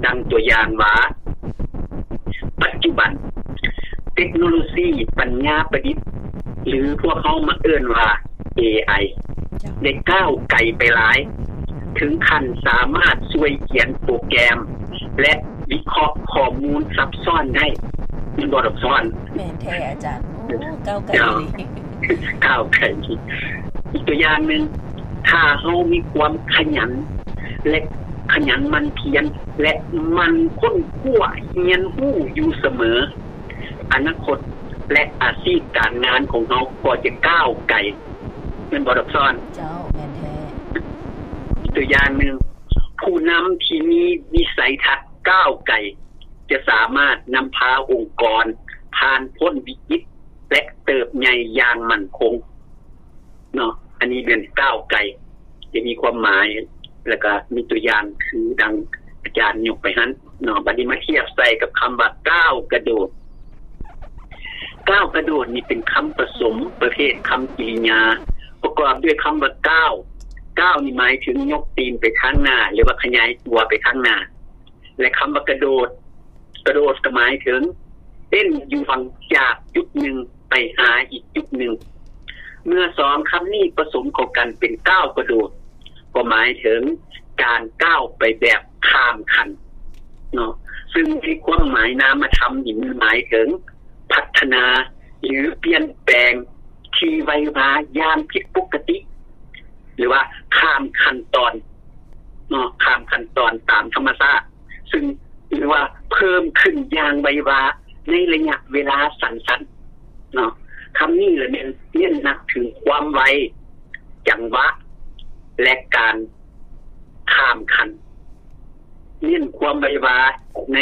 ຕັ້ງຕົວຢ່າງວ່າ ປັດຈຸບັນເຕັກໂນໂລຊີປັນຍາປະດິດ ຫຼື ພວກເຮົາມັກເອີ້ນວ່າ ເອໄອ ໄດ້ກ້າວໄກໄປຫຼາຍ ເຖິງຂັ້ນສາມາດຊ່ວຍຂຽນໂປຣແກຣມ ແລະ ວິເຄາະຂໍ້ມູນຊັບຊ້ອນໄດ້. ແມ່ນບໍ່ ດອກຊອນ? ແມ່ນແທ້ອາຈານ. ໂອ້ ກ້າວໄກອີ່ຫຼີ ກ້າວໄກ. ອີກຕົວຢ່າງໜຶ່ງ, ຖ້າເຮົາມີຄວາມຂະຫຍັນ ແລະ ຂະຫຍັນໝັ່ນພຽນ ແລະ ໝັ່ນຄົ້ນຄວ້າຮຽນຮູ້ຢູ່ສະເໝີ, ອະນາຄົດ ແລະ ອາຊີບການງານຂອງເຮົາກໍຈະກ້າວໄກ. ແມ່ນບໍ່ ດອກຊອນ? ເຈົ້າ, ແມ່ນແທ້. ອີກຕົວຢ່າງໜຶ່ງ, ຜູ້ນຳທີ່ມີວິໄສທັດກ້າວໄກ ຈະສາມາດນຳພາອົງກອນຜ່ານພົ້ນວິກິດ ແລະ ເຕີບໃຫຍ່ຢ່າງໝັ້ນຄົງເນາະ. ອັນນີ້ແມ່ນກ້າວໄກ ຈະມີຄວາມໝາຍ ແລ້ວກໍມີຕົວຢ່າງຄືດັ່ງອາຈານຍົກໄປຫັ້ນເນາະ. ບັດນີ້ມາທຽບໃສ່ກັບຄຳວ່າກ້າວກະໂດດ. ກ້າວກະໂດດນີ້ເປັນຄຳປະສົມປະເພດຄຳກິລິຍາ ປະກອບດ້ວຍຄຳວ່າກ້າວ. ກ້າວນີ້ໝາຍເຖິງຍົກຕີນໄປທາງໜ້າ ຫຼືວ່າຂະຫຍາຍຕົວໄປທາງໜ້າ. ແລະ ຄຳວ່າກະໂດດ, ກະໂດດກໍໝາຍເຖິງເຕັ້ນຢູ່ຫວ່າງຈາກຈຸດໜຶ່ງໄປຫາອີກຈຸດໜຶ່ງ. ເມື່ອສອງຄຳນີ້ປະສົມເຂົ້າກັນເປັນກ້າວກະໂດດ ກໍໝາຍເຖິງການກ້າວໄປແບບຂ້າມຂັ້ນເນາະ, ຊຶ່ງໃນຄວາມໝາຍນາມະທຳນີ້ມັນໝາຍເຖິງພັດທະນາ ຫຼື ປ່ຽນແປງທີ່ໄວວາຢ່າງຜິດປົກກະຕິ ຫຼືວ່າຂ້າມຂັ້ນຕອນເນາະ, ຂ້າມຂັ້ນຕອນຕາມທຳມະຊາດ, ຊຶ່ງ ຫຼືວ່າເພີ່ມຂຶ້ນຢ່າງໄວວາໃນໄລຍະເວລາສັ້ນໆເນາະ. ຄຳນີ້ລະແມ່ນເນັ້ນໜັກເຖິງຄວາມໄວ, ຈັງຫວະ ແລະ ການຂ້າມຂັ້ນ, ເນັ້ນຄວາມໄວວາໃນ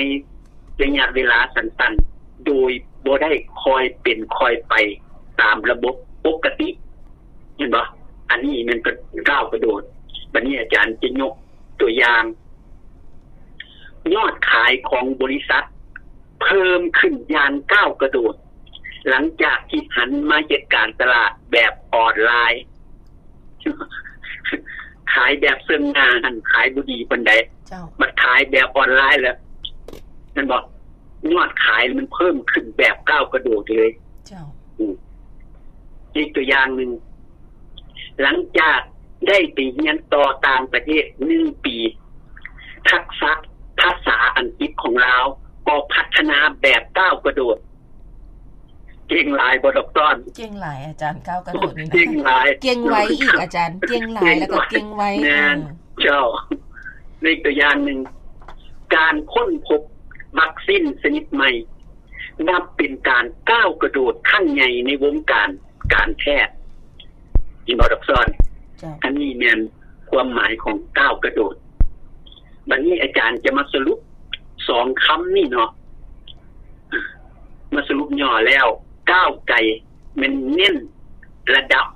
ໄລຍະເວລາສັ້ນໆ ໂດຍບໍ່ໄດ້ຄ່ອຍເປັນຄ່ອຍໄປຕາມລະບົບປົກກະຕິ. ເຫັນບໍ່? ອັນນີ້ແມ່ນເປັນກ້າວກະໂດດ. ບັດນີ້ອາຈານຈະຍົກຕົວຢ່າງ, ຍອດຂາຍຂອງບໍລິສັດເພີ່ມຂຶ້ນຢ່າງກ້າວກະໂດດ ຫຼັງຈາກທີ່ຫັນມາເຮັດການຕະຫຼາດແບບອອນລາຍ. ຂາຍແບບເຊິ່ງໜ້າຫັ້ນຂາຍບໍ່ດີປານໃດ, ເຈົ້າ. ບັດຂາຍແບບອອນລາຍແລ້ວ ແມ່ນບໍ່? ຍອດຂາຍມັນເພີ່ມຂຶ້ນແບບກ້າວກະໂດດເລີຍ. ເຈົ້າ. ອືມ. ອີກຕົວຢ່າງໜຶ່ງ, ຫຼັງຈາກໄດ້ໄປຮຽນຕໍ່ຕ່າງປະເທດໜຶ່ງປີ, ທັກສະພາສາອັງກິດຂອງລາວກໍພັດທະນາແບບກ້າວກະໂດດ. ເກັ່ງຫຼາຍບໍ່ ດອກຕອນ? ເກັ່ງຫຼາຍອາຈານ, ກ້າວກະໂດດນີ້ນະ. ເກັ່ງຫຼາຍ, ເກັ່ງໄວອີກອາຈານ, ເກັ່ງຫຼາຍແລ້ວກໍເກັ່ງໄວ. ແມ່ນ, ເຈົ້າ. ອີກຕົວຢ່າງໜຶ່ງ, ການຄົ້ນພົບວັກຊີນຊະນິດໃໝ່ ນັບເປັນການກ້າວກະໂດດຄັ້ງໃຫຍ່ໃນວົງການການແພດ. ເຫັນບໍ່ ດອກຊອນ? ເຈົ້າ. ອັນນີ້ແມ່ນຄວາມໝາຍຂອງກ້າວກະໂດດ. ບັດນີ້ອາຈານຈະມາສະຫຼຸບສອງຄຳນີ້ເນາະ, ມາສະຫຼຸບຫຍໍ້ແລ້ວ, ກ້າວໄກແມ່ນເນັ້ນລະດັບ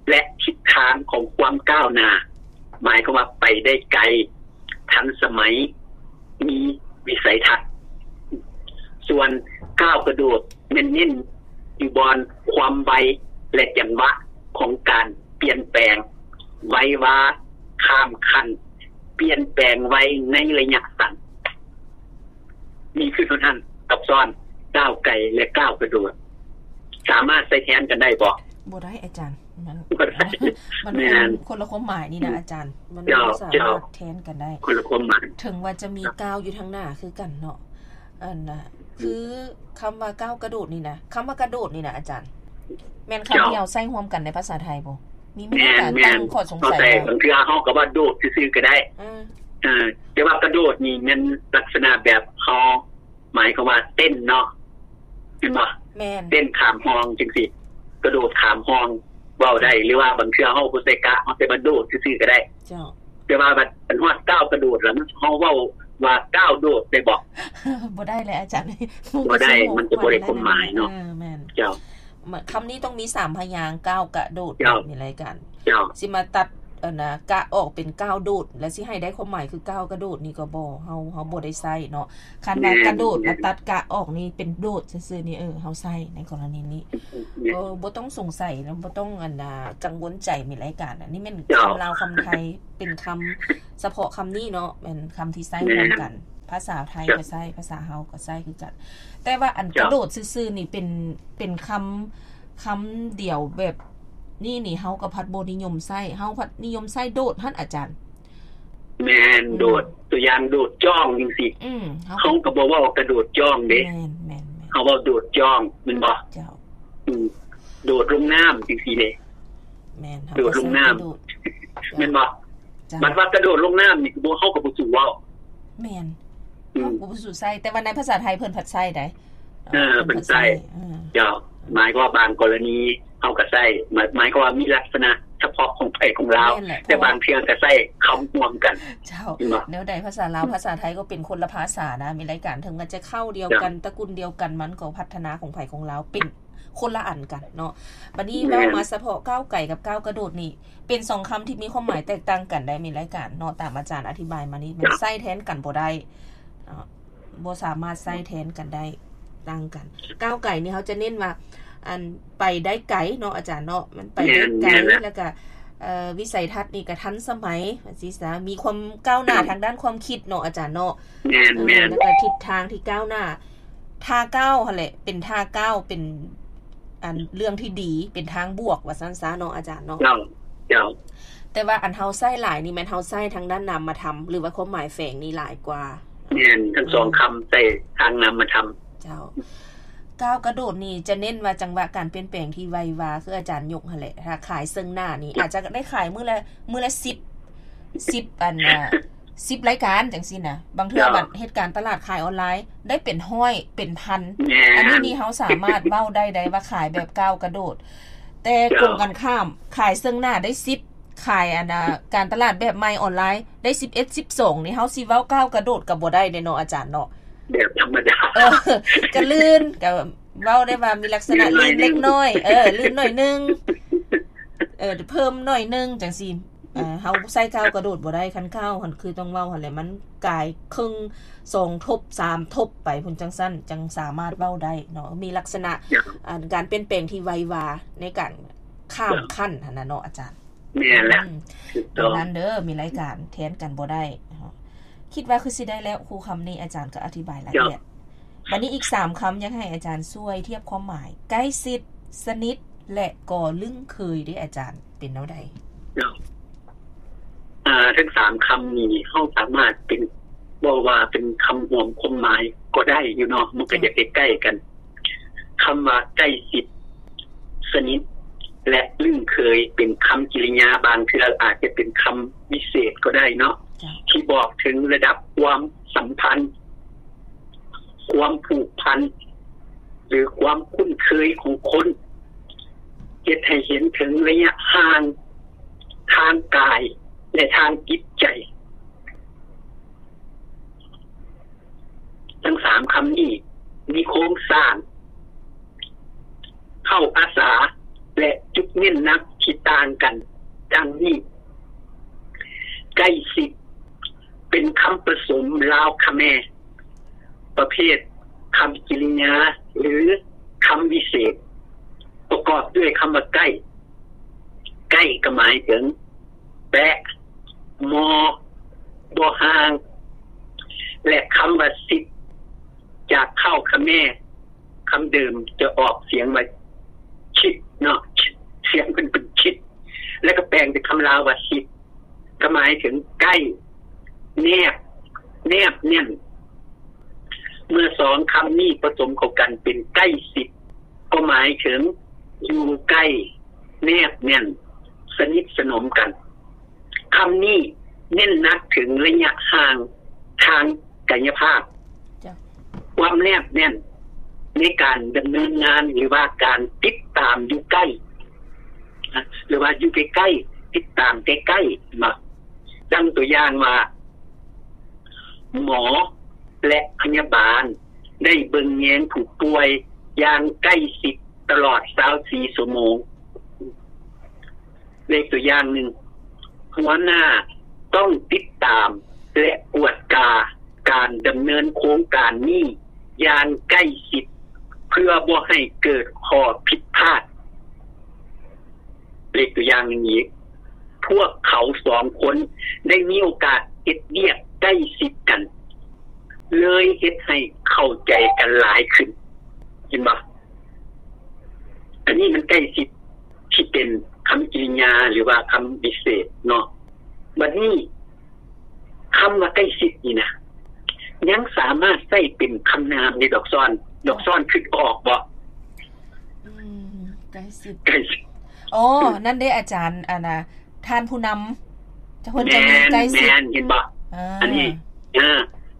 ແລະ ທິດທາງຂອງຄວາມກ້າວໜ້າ, ໝາຍຄວາມວ່າໄປໄດ້ໄກ, ທັນສະໄໝ, ມີວິໄສທັດ. ສ່ວນກ້າວກະໂດດແມ່ນເນັ້ນຢູ່ບ່ອນຄວາມໄວ ແລະ ຈັງຫວະຂອງການປ່ຽນແປງ, ໄວວາ, ຂ້າມຂັ້ນ, ປ່ຽນແປງໄວໃນໄລຍະສັ້ນ. ມີຄືເທົ່ານັ້ນ, ກັບຊ້ອນ, ກ້າວໄກ ແລະ ກ້າວກະໂດດ. ສາມາດໃຊ້ແທນກັນໄດ້ບໍ່? ບໍ່ໄດ້ອາຈານ. ມັນ ບໍ່ໄດ້ ມັນ ແມ່ນ ຄົນ ຄົນລະຄວາມໝາຍນີ້ນະອາຈານ, ມັນ ເຈົ້າ ບໍ່ສາມາດ ເຈົ້າ ແທນກັນໄດ້. ຄົນລະຄວາມໝາຍ. ເຖິງວ່າຈະມີ ເຈົ້າ ກ້າວຢູ່ທາງໜ້າຄືກັນເນາະ, ອັນນະ ອືມ ຄືຄຳວ່າກ້າວກະໂດດນີ້ນະ, ຄຳວ່າກະໂດດນີ້ນະອາຈານ ແມ່ນຄຳ ເຈົ້າ ທີ່ເຮົາໃຊ້ຮ່ວມກັນໃນພາສາໄທບໍ່? ມີ ມີ ແມ່ນ ການ ແມ່ນ ຕັ້ງຂໍ້ສົງໄສ ເຮົາໃຊ້ ເນາະ. ບາງເທື່ອເຮົາກໍວ່າໂດດຊື່ໆກໍໄດ້. ເອີ ເອີ ແຕ່ວ່າກະໂດດນີ້ແມ່ນລັກສະນະແບບເຮົາ ໝາຍຄວາມວ່າເຕັ້ນເນາະ, ແມ່ນບໍ່? ແມ່ນ. ເຕັ້ນຂ້າມຮ່ອງຈັ່ງຊີ້, ກະໂດດຂ້າມຮ່ອງເວົ້າໄດ້, ເຈົ້າ. ຫຼືວ່າບາງເທື່ອເຮົາບໍ່ໃສ່ກະ, ເຮົາແຕ່ວ່າໂດດຊື່ໆກໍໄດ້. ເຈົ້າ. ແຕ່ວ່າບັດ ອັນຮອດກ້າວກະໂດດລະ ເຮົາເວົ້າວ່າກ້າວໂດດໄດ້ບໍ່? ບໍ່ໄດ້ແຫຼະອາຈານ, ບໍ່ໄດ້, ມັນຈະບໍ່ໄດ້ຄວາມໝາຍເນາະ. ເອີ ແມ່ນ. ເຈົ້າ. ມ- ຄຳນີ້ຕ້ອງມີສາມພະຍາງ, ກ້າວ ກະໂດດ, ເຈົ້າ ມີລາຍການ. ເຈົ້າ. ຊິມາຕັດ ອັນນະ ກະອອກເປັນກ້າວໂດດ ແລ້ວຊິໃຫ້ໄດ້ຄວາມໝາຍຄືກ້າວກະໂດດນີ້ກໍບໍ່, ເຮົາ ເຮົາບໍ່ໄດ້ໃຊ້ເນາະ. ຄັນວ່າ ແມ່ນ ກະໂດດ ແລ້ວຕັດກະອອກນີ້ເປັນໂດດຊື່ໆນີ້, ເອີ ເຮົາໃຊ້ໃນກໍລະນີນີ້. ແມ່ນ. ເອີ ບໍ່ຕ້ອງສົງໄສເນາະ, ບໍ່ຕ້ອງ ອັນນະ ກັງວົນໃຈ ມີລາຍການ. ອັນນີ້ແມ່ນ ເຈົ້າ ຄຳລາວຄຳໄທ ເປັນຄຳສະເພາະຄຳນີ້ເນາະ, ແມ່ນຄຳທີ່ໃຊ້ ແມ່ນ ຮ່ວມກັນ. ພາສາໄທກໍໃຊ້ ພາສາເຮົາກໍໃຊ້ຄືກັນ. ແຕ່ວ່າອັນກະໂດດຊື່ໆນີ້ເປັນ ເປັນຄຳ ຄຳດຽວແບບນີ້ນີ້ ເຮົາກໍພັດບໍ່ນິຍົມໃຊ້ ເຮົາພັດນິຍົມໃຊ້ໂດດຫັ້ນອາຈານ. ແມ່ນ ອືມ ໂດດ ຕົວຢ່າງໂດດຈ້ອງຈັ່ງຊີ້ ອືມ ເຮົາ ເຮົາກໍບໍ່ເວົ້າກະໂດດຈ້ອງເດ້ ແມ່ນໆໆ ເຮົາເວົ້າໂດດຈ້ອງແມ່ນບໍ່? ເຈົ້າ ອືມ ໂດດລົງນ້ຳຈັ່ງຊີ້ເດ້ ແມ່ນ ໂດດລົງນ້ຳ ແມ່ນບໍ່? ເຈົ້າ ບັດວ່າກະໂດດລົງນ້ຳນີ້ ບໍ່ ເຮົາກໍບໍ່ສູ້ເວົ້າ ແມ່ນ ອືມ ເຮົາກໍບໍ່ສູ້ໃຊ້ ແຕ່ວ່າໃນພາສາໄທເພິ່ນພັດໃຊ້ໄດ໋. ເອີ ເພິ່ນໃຊ້ ເຈົ້າ ໝາຍຄວາມວ່າບາງກໍລະນີເຮົາກໍໃຊ້ ໝາຍ ໝາຍຄວາມວ່າມີລັກສະນະສະເພາະຂອງໃຜຂອງລາວ ແຕ່ບາງເທື່ອກໍໃຊ້ຄຳຮ່ວມກັນ ເຈົ້າ ແນວໃດພາສາລາວ ພາສາໄທກໍເປັນຄົນລະພາສານະ ມີລາຍການ ເຖິງວ່າຈະເຄົ້າດຽວກັນ ຕະກຸນດຽວກັນ ມັນກໍພັດທະນາຂອງໃຜຂອງລາວເປັນຄົນລະອັນກັນເນາະ. ບັດນີ້ເວົ້າມາສະເພາະກ້າວໄກກັບກ້າວກະໂດດນີ້ ເປັນສອງຄຳທີ່ມີຄວາມໝາຍແຕກຕ່າງກັນໄດ໋ ມີລາຍການເນາະ ຕາມອາຈານອະທິບາຍມານີ້ ມັນໃຊ້ແທນກັນບໍ່ໄດ້ເນາະ ບໍ່ສາມາດໃຊ້ແທນກັນໄດ້ ຕ່າງກັນ. ກ້າວໄກນີ້ເຮົາຈະເນັ້ນວ່າ ອັນ ໄປໄດ້ໄກເນາະອາຈານເນາະ ມັນໄປໄດ້ໄກ ແລ້ວກະ ເອີ ວິໄສທັດນີ້ກະທັນສະໄໝ ວ່າຊີ້ຊະ ມີຄວາມກ້າວໜ້າທາງດ້ານຄວາມຄິດເນາະອາຈານເນາະ ແມ່ນໆ ເອີ ແລ້ວກະທິດທາງທີ່ກ້າວໜ້າ ທ່າກ້າວຫັ້ນແຫຼະ ເປັນທ່າກ້າວ ເປັນອັນເລື່ອງທີ່ດີ ເປັນທາງບວກວ່າຊັ້ນຊະເນາະອາຈານເນາະ ເຈົ້າ ເຈົ້າ ແຕ່ວ່າອັນເຮົາໃຊ້ຫຼາຍນີ້ແມ່ນເຮົາໃຊ້ທາງດ້ານນາມມະທຳ ຫຼືວ່າຄວາມໝາຍແຝງນີ້ຫຼາຍກວ່າ ແມ່ນ ທັງສອງຄຳໃຊ້ທາງນາມມະທຳ ເຈົ້າ. ກ້າວກະໂດດນີ້ຈະເນັ້ນວ່າຈັງຫວະການປ່ຽນແປງທີ່ໄວວາ ຄືອາຈານຍົກຫັ້ນແຫຼະ ຖ້າຂາຍເຊິ່ງໜ້ານີ້ ອາດຈະໄດ້ຂາຍມື້ລະ ມື້ລະສິບ ສິບອັນນະ ສິບລາຍການຈັ່ງຊີ້ນະ ບາງເທື່ອບັດເຮັດການຕະຫຼາດຂາຍອອນລາຍໄດ້ເປັນຮ້ອຍເປັນພັນ ອັນນີ້ນີ້ເຮົາສາມາດເວົ້າໄດ້ໄດ໋ວ່າຂາຍແບບກ້າວກະໂດດ ແຕ່ກົງກັນຂ້າມ ຂາຍເຊິ່ງໜ້າໄດ້ສິບ ຂາຍອັນນະ ການຕະຫຼາດແບບໃໝ່ອອນລາຍໄດ້ສິບເອັດ ສິບສອງ ນີ້ ເຮົາຊິເວົ້າກ້າວກະໂດດກໍບໍ່ໄດ້ເດ້ເນາະອາຈານເນາະ ແບບທຳມະດາ ເອີ ກະລື່ນ ກະເວົ້າໄດ້ວ່າມີລັກສະນະລື່ນເລັກນ້ອຍ ເອີ ລື່ນໜ້ອຍໜຶ່ງ ເອີ ເພີ່ມໜ້ອຍໜຶ່ງຈັ່ງຊີ້ ເອີ ເຮົາໃຊ້ກ້າວກະໂດດບໍ່ໄດ້ ຄັນກ້າວຫັ້ນຄືຕ້ອງເວົ້າຫັ້ນແຫຼະ ມັນກາຍເຄິ່ງ ສອງທົບ ສາມທົບໄປພຸ້ນ ຈັ່ງຊັ້ນຈັ່ງສາມາດເວົ້າໄດ້ເນາະ ມີລັກສະນະ ອັນ ການປ່ຽນແປງທີ່ໄວວາໃນການຂ້າມຂັ້ນຫັ້ນນະເນາະອາຈານ. ແມ່ນແລ້ວ ອືມ ຖືກຕ້ອງ ດັ່ງນັ້ນເດີ ມີລາຍການແທນກັນບໍ່ໄດ້. ຄິດວ່າຄືຊິໄດ້ແລ້ວ ຄູ່ຄຳນີ້ອາຈານກໍອະທິບາຍລາຍລະອຽດ. ບັດນີ້ອີກສາມຄຳ ຢາກໃຫ້ອາຈານຊ່ວຍທຽບຄວາມໝາຍ ໃກ້ຊິດ, ສະໜິດ ແລະ ກໍລຶ້ງເຄີຍເດ້ອາຈານ ເປັນແນວໃດ? ເຈົ້າ ອາ ທັງສາມຄຳນີ້ ເຮົາສາມາດເປັນ ເວົ້າວ່າເປັນຄຳຮວມຄວາມໝາຍກໍໄດ້ຢູ່ເນາະ ມັນກໍຢາກໃກ້ໆກັນ. ຄຳວ່າໃກ້ຊິດ, ສະໜິດ ແລະ ລຶ້ງເຄີຍ ເປັນຄຳກິລິຍາ, ບາງເທື່ອອາດຈະເປັນຄຳວິເສດກໍໄດ້ເນາະ ເຈົ້າ ທີ່ບອກເຖິງລະດັບຄວາມສຳພັນ, ຄວາມຜູກພັນ ຫຼື ຄວາມຄຸ້ນເຄີຍຂອງຄົນ, ເຮັດໃຫ້ເຫັນເຖິງໄລຍະຫ່າງທາງກາຍ ແລະ ທາງຈິດໃຈ. ທັງສາມຄຳນີ້ມີໂຄງສ້າງ ເຄົ້າພາສາ ແລະ ຈຸດເນັ້ນໜັກທີ່ຕ່າງກັນ ດັ່ງນີ້. ໃກ້ຊິດ ເປັນຄຳປະສົມລາວຂະແມ ປະເພດຄຳກິລິຍາ ຫຼື ຄຳວິເສດ ປະກອບດ້ວຍຄຳວ່າໃກ້. ໃກ້ກໍໝາຍເຖິງແປະ, ມໍ່, ບໍ່ຫ່າງ ແລະ ຄຳວ່າຊິດ ຈາກເຄົ້າຂະແມ ຄຳເດີມຈະອອກສຽງວ່າຊິດເນາະ, ສຽງເພິ່ນເປັນຊິດ ແລ້ວກໍແປງເປັນຄຳລາວວ່າຊິດ ກໍໝາຍເຖິງໃກ້, ແນບ, ແນບແໜ້ນ. ເມື່ອສອງຄຳນີ້ປະສົມເຂົ້າກັນເປັນໃກ້ຊິດ ກໍໝາຍເຖິງຢູ່ໃກ້, ແນບແໜ້ນ, ສະໜິດສະໜົມກັນ. ຄຳນີ້ເນັ້ນໜັກເຖິງໄລຍະຫ່າງທາງກາຍະພາບ, ເຈົ້າ ຄວາມແນບແໜ້ນໃນການດຳເນີນງານ ຫຼືວ່າການຕິດຕາມຢູ່ໃກ້ ນະ ຫຼືວ່າຢູ່ໃກ້ໆ ຕິດຕາມໃກ້ໆ ເນາະ. ດັ່ງຕົວຢ່າງວ່າ ໝໍ ແລະ ພະຍາບານໄດ້ເບິ່ງແຍງຜູ້ປ່ວຍຢ່າງໃກ້ຊິດຕະຫຼອດຊາວສີ່ຊົ່ວໂມງ. ເລກຕົວຢ່າງໜຶ່ງ, ຫົວໜ້າຕ້ອງຕິດຕາມ ແລະ ກວດກາການດຳເນີນໂຄງການນີ້ຢ່າງໃກ້ຊິດ ເພື່ອບໍ່ໃຫ້ເກີດຂໍ້ຜິດພາດ. ເລກຕົວຢ່າງໜຶ່ງອີກ, ພວກເຂົາສອງຄົນໄດ້ມີໂອກາດເຮັດວຽກໃກ້ຊິດກັນ. ເລີຍເຮັດໃຫ້ເຂົ້າໃຈກັນຫຼາຍຂຶ້ນ. ເຫັນບໍ່? ອັນນີ້ມັນໃກ້ຊິດທີ່ເປັນຄຳກິລິຍາ ຫຼືວ່າຄຳວິເສດເນາະ. ບັດນີ້ ຄຳວ່າໃກ້ຊິດນີ້ນະ ຍັງສາມາດໃຊ້ເປັນຄຳນາມໄດ້ດອກຊ້ອນ. ດອກຊ້ອນຄິດອອກບໍ່? ອືມ ໃກ້ຊິດ ໃກ້ຊິດ. ອໍ ອືມ ນັ້ນເດ້ອາຈານ ອັນນ່າ ທ່ານຜູ້ນຳ ເພິ່ນຈະມີໃກ້ຊິດ. ແມ່ນ ແມ່ນ ເຫັນບໍ່? ອ່າ ອັນນີ້ ເອີ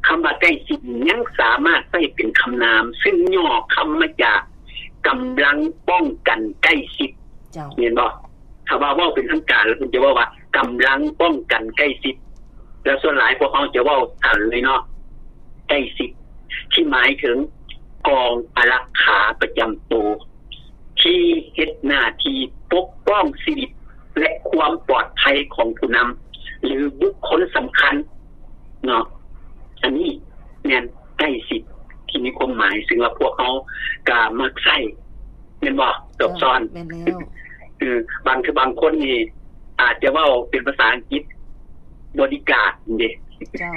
ຄຳວ່າໃກ້ຊິດນີ້ຍັງສາມາດໃຊ້ເປັນຄຳນາມ ຊຶ່ງຫຍໍ້ຄຳມາຈາກກຳລັງປ້ອງກັນໃກ້ຊິດ. ເຈົ້າ ແມ່ນບໍ່? ຖ້າວ່າເວົ້າເປັນທາງການແລ້ວ ເພິ່ນຈະເວົ້າວ່າກຳລັງປ້ອງກັນໃກ້ຊິດ ແລ້ວສ່ວນຫຼາຍພວກເຮົາຈະເວົ້າສັ້ນເລີຍເນາະ ໃກ້ຊິດ ທີ່ໝາຍເຖິງກອງອາລັກຂາປະຈຳໂຕ ທີ່ເຮັດໜ້າທີ່ປົກປ້ອງຊີວິດ ແລະ ຄວາມປອດໄພຂອງຜູ້ນຳ ຫຼື ບຸກຄົນສຳຄັນເນາະ. ອັນນີ້ແມ່ນໃກ້ຊິດທີ່ມີຄວາມໝາຍ ຊຶ່ງວ່າພວກເຮົາກໍມັກໃຊ້ ແມ່ນບໍ່? ດອກຊ້ອນ ແມ່ນແລ້ວ. ເອີ ບາງ ຄືບາງຄົນນີ້ອາດຈະເວົ້າເປັນພາສາອັງກິດ ບໍດີກາດເດ້. ເຈົ້າ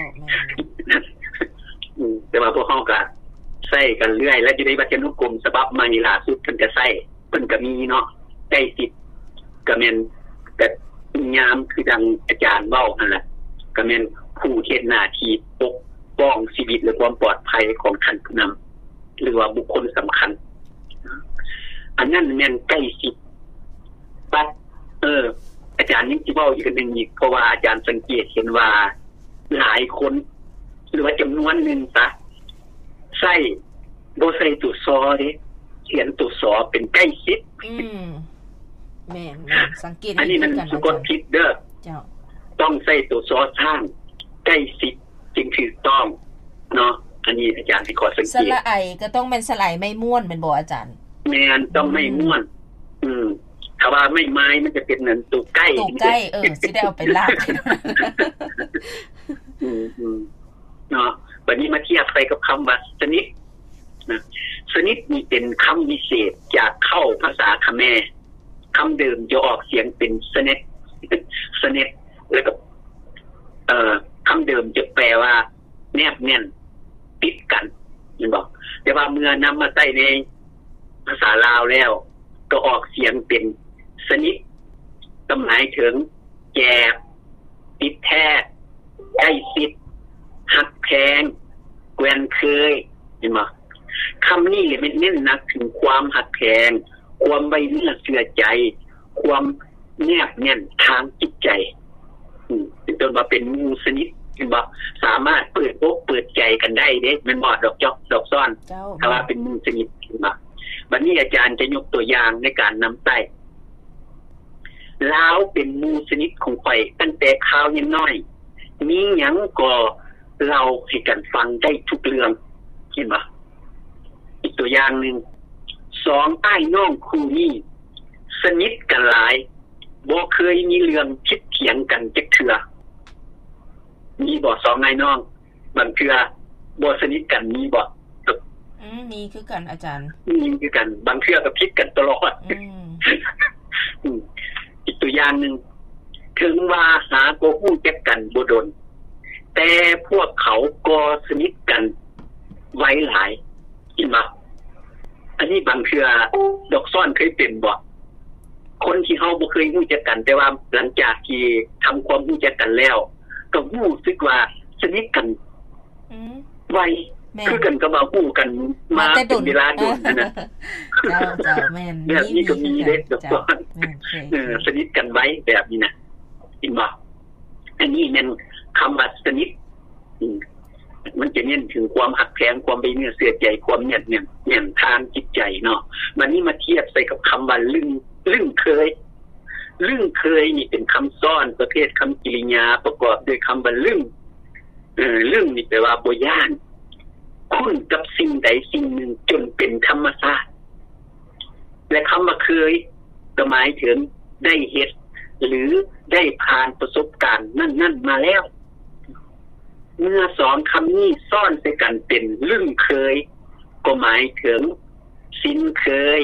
ແມ່ນ. ອືມ ແຕ່ວ່າພວກເຮົາກໍໃຊ້ກັນເລື້ອຍ ແລະ ຢູ່ໃນວັດທະນຸກົມສະບັບໃໝ່ລ່າສຸດ ເພິ່ນກໍໃຊ້ ເພິ່ນກໍມີເນາະ ໃກ້ຊິດ ກໍແມ່ນ ກໍຍາມຄືດັ່ງອາຈານເວົ້າຫັ້ນລະ ກໍແມ່ນຜູ້ເຮັດໜ້າທີ່ປົກປ້ອງຊີວິດ ແລະ ຄວາມປອດໄພຂອງທ່ານຜູ້ນຳ ຫຼືວ່າບຸກຄົນສຳຄັນ. ອັນນັ້ນແມ່ນໃກ້ຊິດ. ບັດ ເອີ ອາຈານຍັງຊິເວົ້າອີກອັນໜຶ່ງອີກ ເພາະວ່າອາຈານສັງເກດເຫັນວ່າຫຼາຍຄົນ ຫຼືວ່າຈຳນວນໜຶ່ງຊະ ໃຊ້ ບໍ່ໃສ່ຕົວ ຊ ເດ້ ຂຽນຕົວ ຊ ເປັນໃກ້ຊິດ. ອືມ ແມ່ນໆ ສັງເກດເຫັນຄືກັນ ອັນນີ້ມັນສະກົດຜິດເດີ. ເຈົ້າ ຕ້ອງໃສ່ຕົວ ຊ ຊ້າງ ໃກ້ຊິດ ຈຶ່ງຖືກຕ້ອງເນາະ. ອັນນີ້ອາຈານຊິຂໍສັງເກດ. ສະຫຼະໄອກໍຕ້ອງແມ່ນສະຫຼະໄອໄມ້ມ້ວນແມ່ນບໍ່ອາຈານ? ແມ່ນ ຕ້ອງໄມ້ມ້ວນ. ອືມ ຖ້າວ່າໄມ້ໄມ້ມັນຈະເປັນອັນໂຕໃກ້ ໂຕໃກ້ ເອີ ຊິໄດ້ເອົາໄປລາກ. ອືມໆ ເນາະ. ບັດນີ້ມາທຽບໃສ່ກັບຄຳວ່າສະໜິດນະ. ສະໜິດນີ້ເປັນຄຳວິເສດຈາກເຄົ້າພາສາຂະແມ. ຄຳເດີມຈະອອກສຽງເປັນສະເນັດ ສະເນັດ ແລ້ວກໍ ເອີ ຄຳເດີມຈະແປວ່າແນບແໜ້ນ ຕິດກັນ ແມ່ນບໍ່? ແຕ່ວ່າເມື່ອນຳມາໃຊ້ໃນພາສາລາວແລ້ວ ກໍອອກສຽງເປັນສະໜິດ ກໍໝາຍເຖິງແຈບ ຕິດແທດ ໃກ້ຊິດ ຮັກແພງ ແກ່ນເຄີຍ ເຫັນບໍ່? ຄຳນີ້ແຫຼະແມ່ນເນັ້ນໜັກເຖິງຄວາມຮັກແພງ, ຄວາມໄວ້ເນື້ອເຊື່ອໃຈ, ຄວາມແນບແໜ້ນທາງຈິດໃຈ. ອືມ ເປັນຕົ້ນວ່າເປັນໝູ່ສະໜິດ ເຫັນບໍ່? ສາມາດເປີດອົກເປີດໃຈກັນໄດ້ເດ້ ແມ່ນບໍ່ ດອກຈອກ ດອກຊ້ອນ? ເຈົ້າ ຖ້າວ່າເປັນໝູ່ສະໜິດ ເຫັນບໍ່? ບັດນີ້ອາຈານຈະຍົກຕົວຢ່າງໃນການນຳໃຊ້. ລາວເປັນໝູ່ສະໜິດຂອງຂ້ອຍຕັ້ງແຕ່ຄາວຍັງນ້ອຍ, ມີຫຍັງກໍເລົ່າໃຫ້ກັນຟັງໄດ້ທຸກເລື່ອງ. ເຫັນບໍ່? ອີກຕົວຢ່າງໜຶ່ງ, ສອງອ້າຍນ້ອງຄູ່ນີ້ສະໜິດກັນຫຼາຍ, ບໍ່ເຄີຍມີເລື່ອງຜິດຖຽງກັນຈັກເທື່ອ. ມີບໍ່ ສອງອ້າຍນ້ອງ? ບາງເທື່ອບໍ່ສະໜິດກັນມີບໍ່? ອືມ ມີຄືກັນອາຈານ. ມີຄືກັນ, ບາງເທື່ອກໍຜິດກັນຕະຫຼອດ. ອືມ ອືມ ອີກຕົວຢ່າງໜຶ່ງ, ເຖິງວ່າຫາກໍຮູ້ຈັກກັນບໍ່ດົນ, ແຕ່ພວກເຂົາກໍສະໜິດກັນໄວຫຼາຍ. ເຫັນບໍ່? ອັນນີ້ບາງເທື່ອດອກຊ້ອນເຄີຍເປັນບໍ່? ຄົນທີ່ເຮົາບໍ່ເຄີຍຮູ້ຈັກກັນ, ແຕ່ວ່າຫຼັງຈາກທີ່ທຳຄວາມຮູ້ຈັກກັນແລ້ວ, ກໍຮູ້ສຶກວ່າສະໜິດກັນ ອືມ ໄວ ແມ່ນ ຄືກັນກັບວ່າຮູ້ກັນມາ ມາແຕ່ດົນ ເປັນເວລາດົນຫັ້ນນະ. ເຈົ້າ ເຈົ້າ ແມ່ນ ແບບນີ້ກໍມີເດ້ ມີ ມີຄືກັນ ດອກ ເຈົ້າ ແມ່ນ ເຄີຍ ເອີ ເຄີຍ ສະໜິດກັນໄວແບບນີ້ນະ ເຫັນບໍ່? ອັນນີ້ແມ່ນຄຳວ່າສະໜິດ ອືມ ມັນຈະເນັ້ນເຖິງຄວາມຮັກແພງ, ຄວາມໄວ້ເນື້ອເຊື່ອໃຈ, ຄວາມແນບແໜ້ນ ແໜ້ນທາງຈິດໃຈເນາະ. ບັດນີ້ມາທຽບໃສ່ກັບຄຳວ່າລຶ້ງ ລຶ້ງເຄີຍ. ລຶ້ງເຄີຍນີ້ເປັນຄຳຊ້ອນປະເພດຄຳກິລິຍາປະກອບດ້ວຍຄຳວ່າລຶ້ງ. ເອີ ລຶ້ງນີ້ແປວ່າບໍ່ຢ້ານ, ຄຸ້ນກັບສິ່ງໃດສິ່ງໜຶ່ງຈົນເປັນທຳມະຊາດ. ແລະ ຄຳວ່າເຄີຍກໍໝາຍເຖິງໄດ້ເຮັດ ຫຼື ໄດ້ຜ່ານປະສົບການນັ້ນໆມາແລ້ວ. ເມື່ອສອງຄຳນີ້ຊ້ອນໃສ່ກັນເປັນລຶ້ງເຄີຍ ກໍໝາຍເຖິງຊິນເຄີຍ,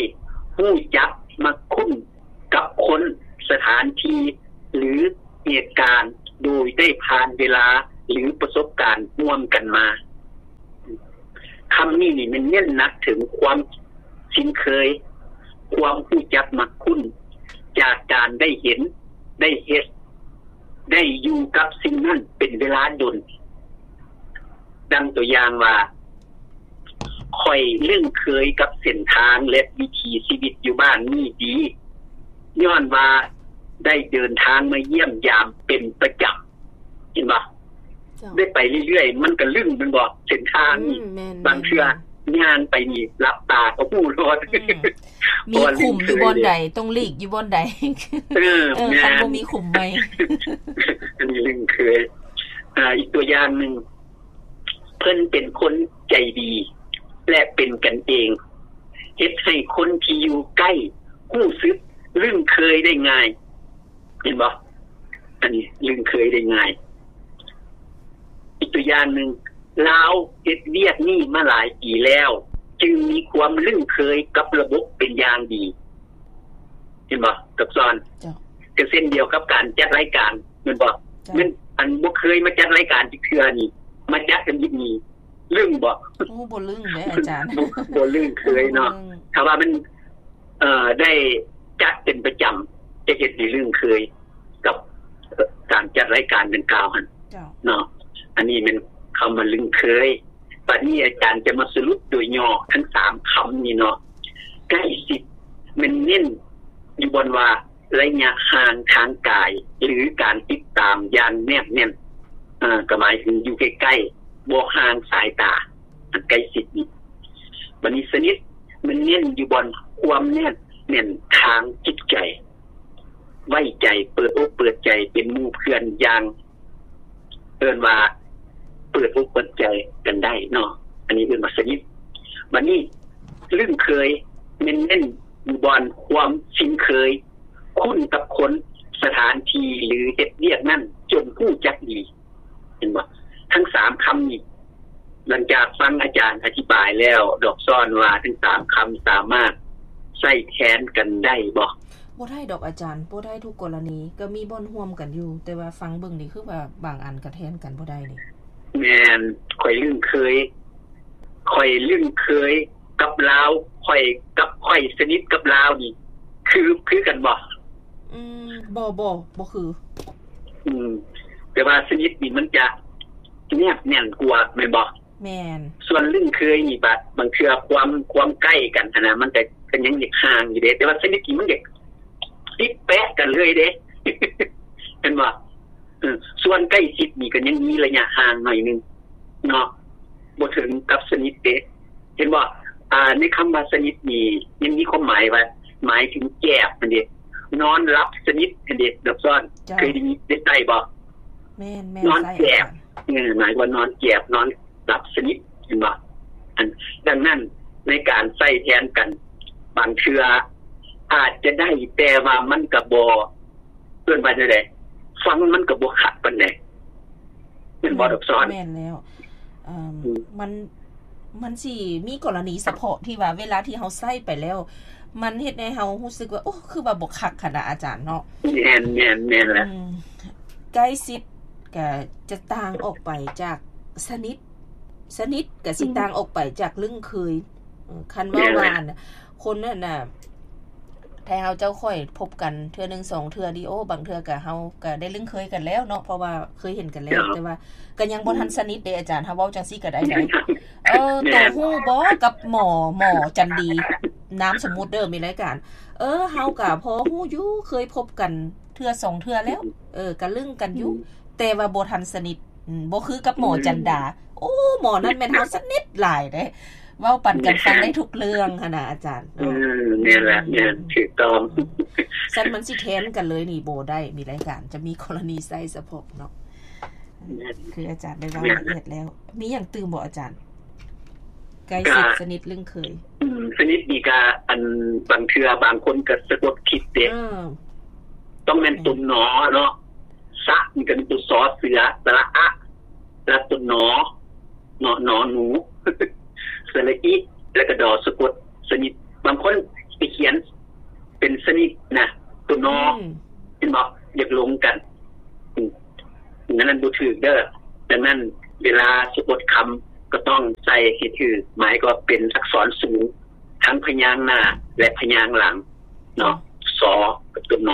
ຮູ້ຈັກ, ມັກຄຸ້ນ ກັບຄົນ, ສະຖານທີ່ ຫຼື ເຫດການ ໂດຍໄດ້ຜ່ານເວລາ ຫຼື ປະສົບການຮ່ວມກັນມາ. ຳນີ້ນີ້ແມ່ນເນັ້ນໜັກເຖິງຄວາມຊິນເຄີຍ, ຄວາມຮູ້ຈັກມັກຄຸ້ນ ຈາກການໄດ້ເຫັນ, ໄດ້ເຮັດ, ໄດ້ຢູ່ກັບສິ່ງນັ້ນເປັນເວລາດົນ. ດັ່ງຕົວຢ່າງວ່າ, ຂ້ອຍລຶ້ງເຄີຍກັບເສັ້ນທາງ ແລະ ວິຖີຊີວິດຢູ່ບ້ານນີ້ດີ, ຍ້ອນວ່າໄດ້ເດີນທາງມາຢ້ຽມຢາມເປັນປະຈຳ. ເຫັນບໍ່? ເຈົ້າ. ໄດ້ໄປເລື້ອຍໆ ມັນກໍລຶ້ງແມ່ນບໍ່? ເສັ້ນທາງນີ້ ອືມ ແມ່ນໆ ບາງເທື່ອຍ່າງໄປນີ້ ຫຼັບຕາກໍຮູ້ໂລດ ອືມ ມີຂຸມຢູ່ບ່ອນໃດ ຕ້ອງຫຼີກຢູ່ບ່ອນໃດ ເອີ ເອີ ແມ່ນ ຄັນບໍ່ມີຂຸມໃໝ່ ອັນນີ້ລຶ້ງເຄີຍ. ອ່າ ອີກຕົວຢ່າງໜຶ່ງ ເພິ່ນເປັນຄົນໃຈດີ ແລະ ເປັນກັນເອງ ເຮັດໃຫ້ຄົນທີ່ຢູ່ໃກ້ຮູ້ສຶກລຶ້ງເຄີຍໄດ້ງ່າຍ. ເຫັນບໍ່? ອັນນີ້ລຶ້ງເຄີຍໄດ້ງ່າຍ. ອີກຕົວຢ່າງໜຶ່ງ, ລາວເຮັດວຽກນີ້ມາຫຼາຍປີແລ້ວ ຈຶ່ງມີຄວາມລຶ້ງເຄີຍກັບລະບົບເປັນຢ່າງດີ. ເຫັນບໍ່? ກັບສອນ ເຈົ້າ. ກໍເຊັ່ນດຽວກັບການຈັດລາຍການ ແມ່ນບໍ່? ເຈົ້າ. ແມ່ນ ອັນບໍ່ເຄີຍມາຈັດລາຍການຈັກເທື່ອນີ້ ມາຈັດກັນຢູ່ນີ້ ລຶ້ງບໍ່? ໂອ້ ບໍ່ລຶ້ງເດ້ອາຈານ ບໍ່ ບໍ່ລຶ້ງເຄີຍເນາະ. ບໍ່ລຶ້ງ. ຖ້າວ່າມັນ ເອີ ໄດ້ຈັດເປັນປະຈຳ ຈະເຮັດໃຫ້ລຶ້ງເຄີຍກັບ ເອີ ການຈັດລາຍການດັ່ງກ່າວຫັ້ນ ເຈົ້າ. ເນາະ. ອັນນີ້ແມ່ນຄຳວ່າລຶ້ງເຄີຍ. ບັດນີ້ອາຈານຈະມາສະຫຼຸບໂດຍຫຍໍ້ທັງສາມຄຳນີ້ເນາະ. ໃກ້ຊິດແມ່ນເນັ້ນຢູ່ບ່ອນວ່າໄລຍະຫ່າງທາງກາຍ ຫຼື ການຕິດຕາມຢ່າງແນບແໜ້ນ ເອີ ກໍໝາຍເຖິງຢູ່ໃກ້ໆ ບໍ່ຫ່າງສາຍຕາ ອັນໃກ້ຊິດນີ້. ບັດນີ້ສະໜິດ ມັນເນັ້ນຢູ່ບ່ອນຄວາມແນບແໜ້ນທາງຈິດໃຈ, ໄວ້ໃຈ, ເປີດອົກເປີດໃຈ ເປັນໝູ່ເພື່ອນຢ່າງ ເອີ້ນວ່າເປີດອົກເປີດໃຈກັນໄດ້ເນາະ, ອັນນີ້ເອີ້ນວ່າສະໜິດ. ບັດນີ້ລຶ້ງເຄີຍ ແມ່ນເນັ້ນຢູ່ບ່ອນຄວາມຊິນເຄີຍ, ຄຸ້ນກັບຄົນ, ສະຖານທີ່ ຫຼື ເຮັດວຽກນັ້ນຈົນຮູ້ຈັກດີ. ເຫັນບໍ່? ທັງສາມຄຳນີ້ ຫຼັງຈາກຟັງອາຈານອະທິບາຍແລ້ວ ດອກຊ້ອນວ່າທັງສາມຄຳສາມາດໃຊ້ແທນກັນໄດ້ບໍ່? ບໍ່ໄດ້ດອກອາຈານ, ບໍ່ໄດ້ທຸກກໍລະນີ, ກໍມີບ່ອນຮ່ວມກັນຢູ່, ແຕ່ວ່າຟັງເບິ່ງນີ້ຄືວ່າບາງອັນກໍແທນກັນບໍ່ໄດ້ເດ. ແມ່ນ, ຂ້ອຍລຶ້ງເຄີຍ, ຂ້ອຍລຶ້ງເຄີຍ ກັບລາວ, ຂ້ອຍ ກັບຂ້ອຍສະໜິດກັບລາວນີ້ ຄື ຄືກັນບໍ່? ອືມ ບໍ່ ບໍ່ ບໍ່ຄື. ອືມ ແຕ່ວ່າສະໜິດນີ້ມັນຈະແນບແໜ້ນກວ່າແມ່ນບໍ່? ແມ່ນ. ສ່ວນລຶ້ງເຄີຍນີ້ບາດ ບາງເທື່ອຄວາມ ຄວາມໃກ້ກັນຫັ້ນນະ ມັນກະ ກະຍັງຢາກຫ່າງຢູ່ເດ້, ແຕ່ວ່າສະໜິດນີ້ມັນຢາກຕິດແປະກັນເລີຍເດ້ ແມ່ນບໍ່? ເອີ ສ່ວນໃກ້ຊິດນີ້ກໍຍັງມີໄລຍະຫ່າງໜ້ອຍໜຶ່ງເນາະ, ບໍ່ເຖິງກັບສະໜິດເດ້. ເຫັນບໍ່? ອ່າ ໃນຄຳວ່າສະໜິດນີ້ຍັງມີຄວາມໝາຍວ່າ ໝາຍເຖິງແຈບຫັ້ນເດ້, ນອນຫຼັບສະໜິດຫັ້ນເດ້, ດອກຊ້ອນ ເຈົ້າ. ເຄີຍໄດ້ຍິນ ໄດ້ໃຊ້ບໍ່? ແມ່ນໆ ນອນແຈບ ໃຊ້ອາຈານ. ເອີ ໝາຍວ່ານອນແຈບ ນອນຫຼັບສະໜິດ ເຫັນບໍ່? ອັນ ດັ່ງນັ້ນ ໃນການໃຊ້ແທນກັນ ບາງເທື່ອອາດຈະໄດ້ ແຕ່ວ່າມັນກະບໍ່ ເອີ້ນວ່າຈັ່ງໃດ ຟັງມັນກໍບໍ່ຄັກປານໃດ ແມ່ນບໍ່ ດອກຊ້ອນ? ແມ່ນແລ້ວ ເອີ ອືມ ມັນ ມັນຊິມີກໍລະນີສະເພາະທີ່ວ່າເວລາທີ່ເຮົາໃຊ້ໄປແລ້ວ ມັນເຮັດໃຫ້ເຮົາຮູ້ສຶກວ່າ ໂອ້ ຄືວ່າບໍ່ຄັກຫັ້ນນະອາຈານເນາະ. ແມ່ນ ແມ່ນ ແມ່ນແລ້ວ ອືມ ໃກ້ຊິດກະຈະຕ່າງອອກໄປຈາກສະໜິດ ສະໜິດກະຊິຕ່າງອອກໄປຈາກລຶ້ງເຄີຍ. ອືມ ຄັນເວົ້າວ່າ ແມ່ນແຫຼະ ອັນ ຄົນນັ້ນນະ ຖ້າເຮົາເຈົ້າຂ້ອຍພົບກັນເທື່ອໜຶ່ງສອງເທື່ອນີ້ ໂອ້ ບາງເທື່ອກະເຮົາກະໄດ້ລຶ້ງເຄີຍກັນແລ້ວເນາະ ເພາະວ່າເຄີຍເຫັນກັນແລ້ວ ເຈົ້າ ແຕ່ວ່າກະຍັງບໍ່ທັນສະໜິດເດ້ອາຈານ. ເຮົາເວົ້າຈັ່ງຊີ້ກະໄດ້ໃດ໋ ເອີ ແມ່ນ ໂຕຮູ້ບໍ່ກັບໝໍ ໝໍຈັນດີ ນາມສົມມຸດເດີ ມີລາຍການ ເອີ ເຮົາກະພໍຮູ້ຢູ່ ເຄີຍພົບກັນເທື່ອສອງເທື່ອແລ້ວ ເອີ ກະລຶ້ງກັນຢູ່ ອືມ ແຕ່ວ່າບໍ່ທັນສະໜິດ ອືມ ບໍ່ຄືກັບໝໍ ອືມ ຈັນດາ. ໂອ້ ໝໍນັ້ນແມ່ນເຮົາສະໜິດຫຼາຍເດ້ ເວົ້າປັນກັນຟັງໄດ້ທຸກເລື່ອງຫັ້ນນະອາຈານ. ເອີ ແມ່ນລະ ອືມ ແມ່ນ ຖືກຕ້ອງ. ອືມ ຊັ້ນມັນຊິແທນກັນເລີຍນີ້ບໍ່ໄດ້ ມີລາຍການຈະມີກໍລະນີໃຊ້ສະເພາະເນາະ. ແມ່ນ ຄືອາຈານໄດ້ເວົ້າ ແມ່ນ ລະອຽດແລ້ວ. ມີຫຍັງຕື່ມບໍ່ອາຈານ? ໃກ້ຊິດ ກະ ສະໜິດ ລຶ້ງເຄີຍ. ອືມ ສະໜິດນີ້ກະ ອັນ ບາງເທື່ອບາງຄົນກະສະກົດຜິດເດ້. ເອີ ຕ້ອງແມ່ນ ແມ່ນ ຕົວ ນ ເນາະ. ສະ ນີ້ກໍເປັນຕົວ ສໍເສືອ, ສະຫຼະອະ, ແລ້ວຕົວ ນ ເນາະ, ໜໍໜູ, ສະຫຼະອິ ແລ້ວກໍ ດໍ ສະກົດ ສະໜິດ. ບາງຄົນໄປຂຽນເປັນສະໜິດນະ ຕົວ ນ ອືມ ເຫັນບໍ່? ຢາກລົງກັນ ອືມ ອັນນັ້ນບໍ່ຖືກເດີ. ດັ່ງນັ້ນ ເວລາສະກົດຄຳ ກໍຕ້ອງໃສ່ໃຫ້ຖືກ ໝາຍກໍເປັນອັກສອນສູງ ທັງພະຍາງໜ້າ ແລະ ພະຍາງຫຼັງເນາະ ສ ກັບຕົວ ນ.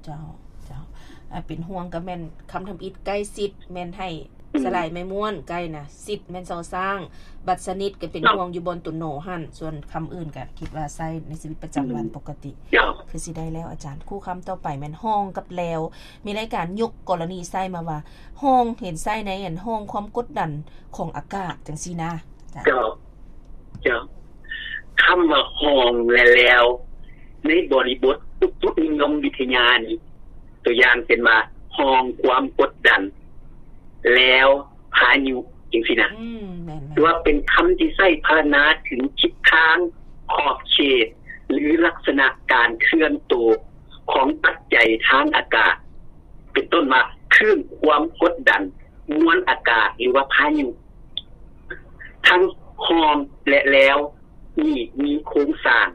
ເຈົ້າ ເຈົ້າ ອ່າ ເປັນຫ່ວງກໍແມ່ນຄຳທຳອິດ ໃກ້ຊິດ ແມ່ນໃຫ້ ອືມ ສະຫຼາຍໄມ້ມ້ວນ ໃກ້ນະ ຊິດແມ່ນ ຊ ຊ້າງ ບັດສະໜິດກໍເປັນ ເນາະ ຫ່ວງຢູ່ບ່ອນຕົວ ນ ຫັ້ນ ສ່ວນຄຳອື່ນກໍຄິດວ່າໃຊ້ໃນຊີວິດປະຈຳວັນ ອືມ ປົກກະຕິ ເຈົ້າ ຄືຊິໄດ້ແລ້ວອາຈານ. ຄູ່ຄຳຕໍ່ໄປແມ່ນຮ່ອງກັບແລວ ມີລາຍການຍົກກໍລະນີໃຊ້ມາວ່າ ຮ່ອງ ເຫັນໃຊ້ໃນອັນຮ່ອງຄວາມກົດດັນຂອງອາກາດ ຈັ່ງຊີ້ນະ ເຈົ້າ ເຈົ້າ ຄຳວ່າຮ່ອງ ແລະ ແລວ ໃນບໍລິບົດອຸຕຸນິຍົມວິທະຍານີ້ ຕົວຢ່າງເຊັ່ນວ່າ ຮ່ອງຄວາມກົດດັນ ແລວ ພາຍຸ ຈັ່ງຊີ້ນະ ອືມ ແມ່ນໆ ຖືວ່າເປັນຄຳທີ່ໃຊ້ພັນນາເຖິງທິດທາງ ຂອບເຂດ ຫຼື ລັກສະນະການເຄື່ອນໂຕຂອງປັດໄຈທາງອາກາດ ເປັນຕົ້ນວ່າ ຄື້ນຄວາມກົດດັນ ມວນອາກາດ ຫຼືວ່າພາຍຸ. ທັງຮ່ອງ ແລະ ແລວ ນີ້ມີໂຄງສ້າງ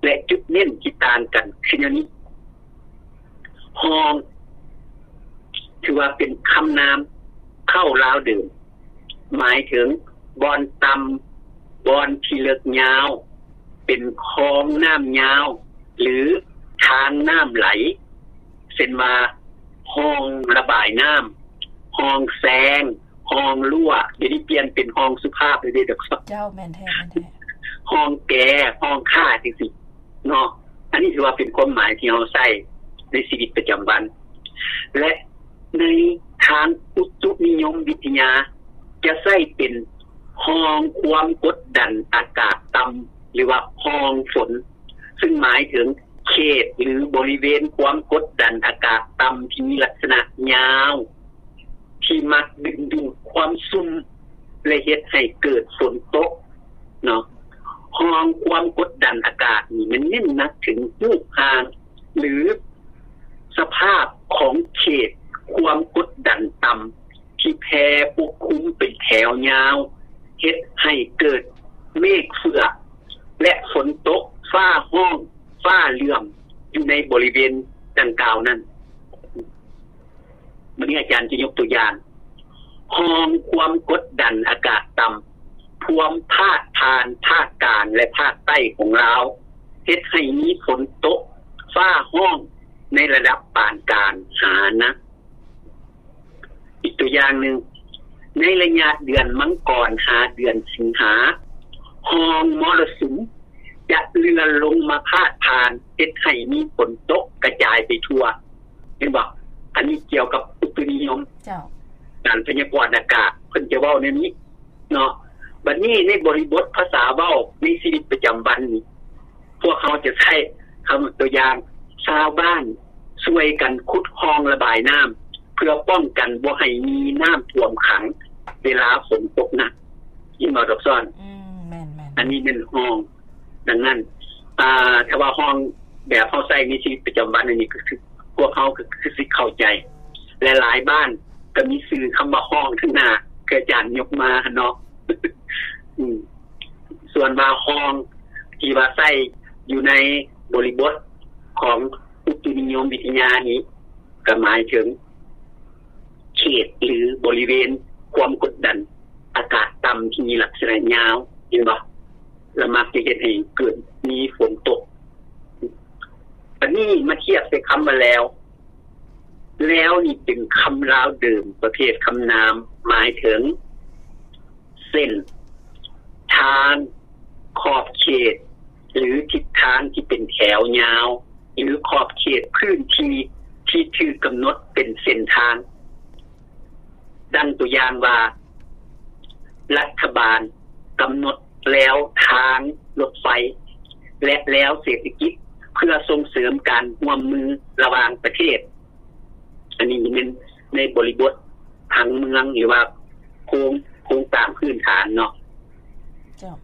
ແລະ ຈຸດເນັ້ນທີ່ຕ່າງກັນຄືແນວນີ້. ຮ່ອງ ຖືວ່າເປັນຄຳນາມເຄົ້າລາວເດີມ ໝາຍເຖິງບ່ອນຕ່ຳ, ບ່ອນທີ່ເລິກຍາວ, ເປັນຄອງນ້ຳຍາວ ຫຼື ທາງນ້ຳໄຫຼ ເຊັ່ນວ່າ ຮ່ອງລະບາຍນ້ຳ, ຮ່ອງແຊງ, ຮ່ອງລົ້ວ, ດຽວນີ້ປ່ຽນເປັນຮ່ອງສຸພາບເລີຍເດ້ດອກ. ເຈົ້າ ແມ່ນແທ້ ແມ່ນແທ້. ຮ່ອງແກ, ຮ່ອງຂ້າ ຈັ່ງຊີ້ເນາະ. ອັນນີ້ຖືວ່າເປັນຄວາມໝາຍທີ່ເຮົາໃຊ້ໃນຊີວິດປະຈຳວັນ ແລະ ໃນທາງອຸຕຸນິຍົມວິທະຍາ ຈະໃຊ້ເປັນຮ່ອງຄວາມກົດດັນອາກາດຕ່ຳ ຫຼືວ່າຮ່ອງຝົນ ຊຶ່ງໝາຍເຖິງເຂດ ຫຼື ບໍລິເວນຄວາມກົດດັນອາກາດຕ່ຳທີ່ມີລັກສະນະຍາວ ທີ່ມັກດຶງດູດຄວາມຊຸ່ມ ແລະ ເຮັດໃຫ້ເກີດຝົນຕົກເນາະ. ຮ່ອງຄວາມກົດດັນອາກາດນີ້ ມັນເນັ້ນໜັກເຖິງຮູບຮ່າງ ຫຼື ສະພາບຂອງເຂດຄວາມກົດດັນຕ່ຳ ທີ່ແຜ່ປົກຄຸມເປັນແຖວຍາວ ເຮັດໃຫ້ເກີດເມກເຟືອກ ແລະ ຝົນຕົກ, ຟ້າຮ້ອງ, ຟ້າເຫຼື້ອມ ຢູ່ໃນບໍລິເວນດັ່ງກ່າວນັ້ນ. ບາດນີ້ອາຈານຈະຍົກຕົວຢ່າງ ຮ່ອງຄວາມກົດດັນອາກາດຕ່ຳ ພວມພາດຜ່ານພາກກາງ ແລະ ພາກໃຕ້ຂອງລາວ ເຮັດໃຫ້ມີຝົນຕົກ, ຟ້າຮ້ອງໃນລະດັບປານກາງຫາໜັກ. ອີກຕົວຢ່າງໜຶ່ງ, ໃນໄລຍະເດືອນມັງກອນຫາເດືອນສິງຫາ, ຮ່ອງມໍລະສຸມຈະເລື່ອນລົງມາພາດຜ່ານ ເຮັດໃຫ້ມີຝົນຕົກກະຈາຍໄປທົ່ວ. ເຫັນບໍ່? ອັນນີ້ກ່ຽວກັບອຸຕຸນິຍົມ ເຈົ້າ ການພະຍາກອນອາກາດ ເພິ່ນຈະເວົ້າແນວນີ້ເນາະ. ບັດນີ້ໃນບໍລິບົດພາສາເວົ້າໃນຊີວິດປະຈຳວັນນີ້ ພວກເຮົາຈະໃຊ້ຄຳຕົວຢ່າງ ຊາວບ້ານຊ່ວຍກັນຂຸດຮ່ອງລະບາຍນ້ຳ ເພື່ອປ້ອງກັນບໍ່ໃຫ້ມີນ້ຳຖ້ວມຂັງເວລາຝົນຕົກໜັກ. ເຫັນບໍ່ດອກຊອນ? ອືມ ແມ່ນໆ ອັນນີ້ແມ່ນຮ່ອງ. ດັ່ງນັ້ນ ອ່າ ຖ້າວ່າຮ່ອງແບບເຮົາໃຊ້ໃນຊີວິດປະຈຳວັນອັນນີ້ ກໍຄືພວກເຮົາກໍຄືຊິເຂົ້າໃຈ ແລະ ຫຼາຍບ້ານກໍມີຊື່ຄຳວ່າຮ່ອງທາງໜ້າ ຄືອາຈານຍົກມາຫັ້ນເນາະ. ອືມ ສ່ວນວ່າຮ່ອງທີ່ວ່າໃຊ້ຢູ່ໃນບໍລິບົດຂອງອຸຕຸນິຍົມວິທະຍານີ້ ກໍໝາຍເຖິງເຂດ ຫຼື ບໍລິເວນຄວາມກົດດັນອາກາດຕ່ຳທີ່ມີລັກສະນະຍາວ ເຫັນບໍ່? ລະມັກຈະເຮັດໃຫ້ເກີດມີຝົນຕົກ. ບັດນີ້ມາທຽບໃສ່ຄຳວ່າແລ້ວ. ແລ້ວນີ້ເປັນຄຳລາວເດີມປະເພດຄຳນາມ ໝາຍເຖິງເສັ້ນທາງ, ຂອບເຂດ ຫຼື ທິດທາງທີ່ເປັນແຖວຍາວ ຫຼື ຂອບເຂດພື້ນທີ່ທີ່ຖືກກຳນົດເປັນເສັ້ນທາງ. ດັ່ງຕົວຢ່າງວ່າ ລັດຖະບານກຳນົດແລວທາງລົດໄຟ ແລະ ແລວເສດຖະກິດ ເພື່ອສົ່ງເສີມການຮ່ວມມືລະຫວ່າງປະເທດ. ອັນນີ້ແມ່ນໃນບໍລິບົດຜັງເມືອງ ຫຼືວ່າໂຄງ, ໂຄງສ້າງພື້ນຖານເນາະ. ເຈົ້າ.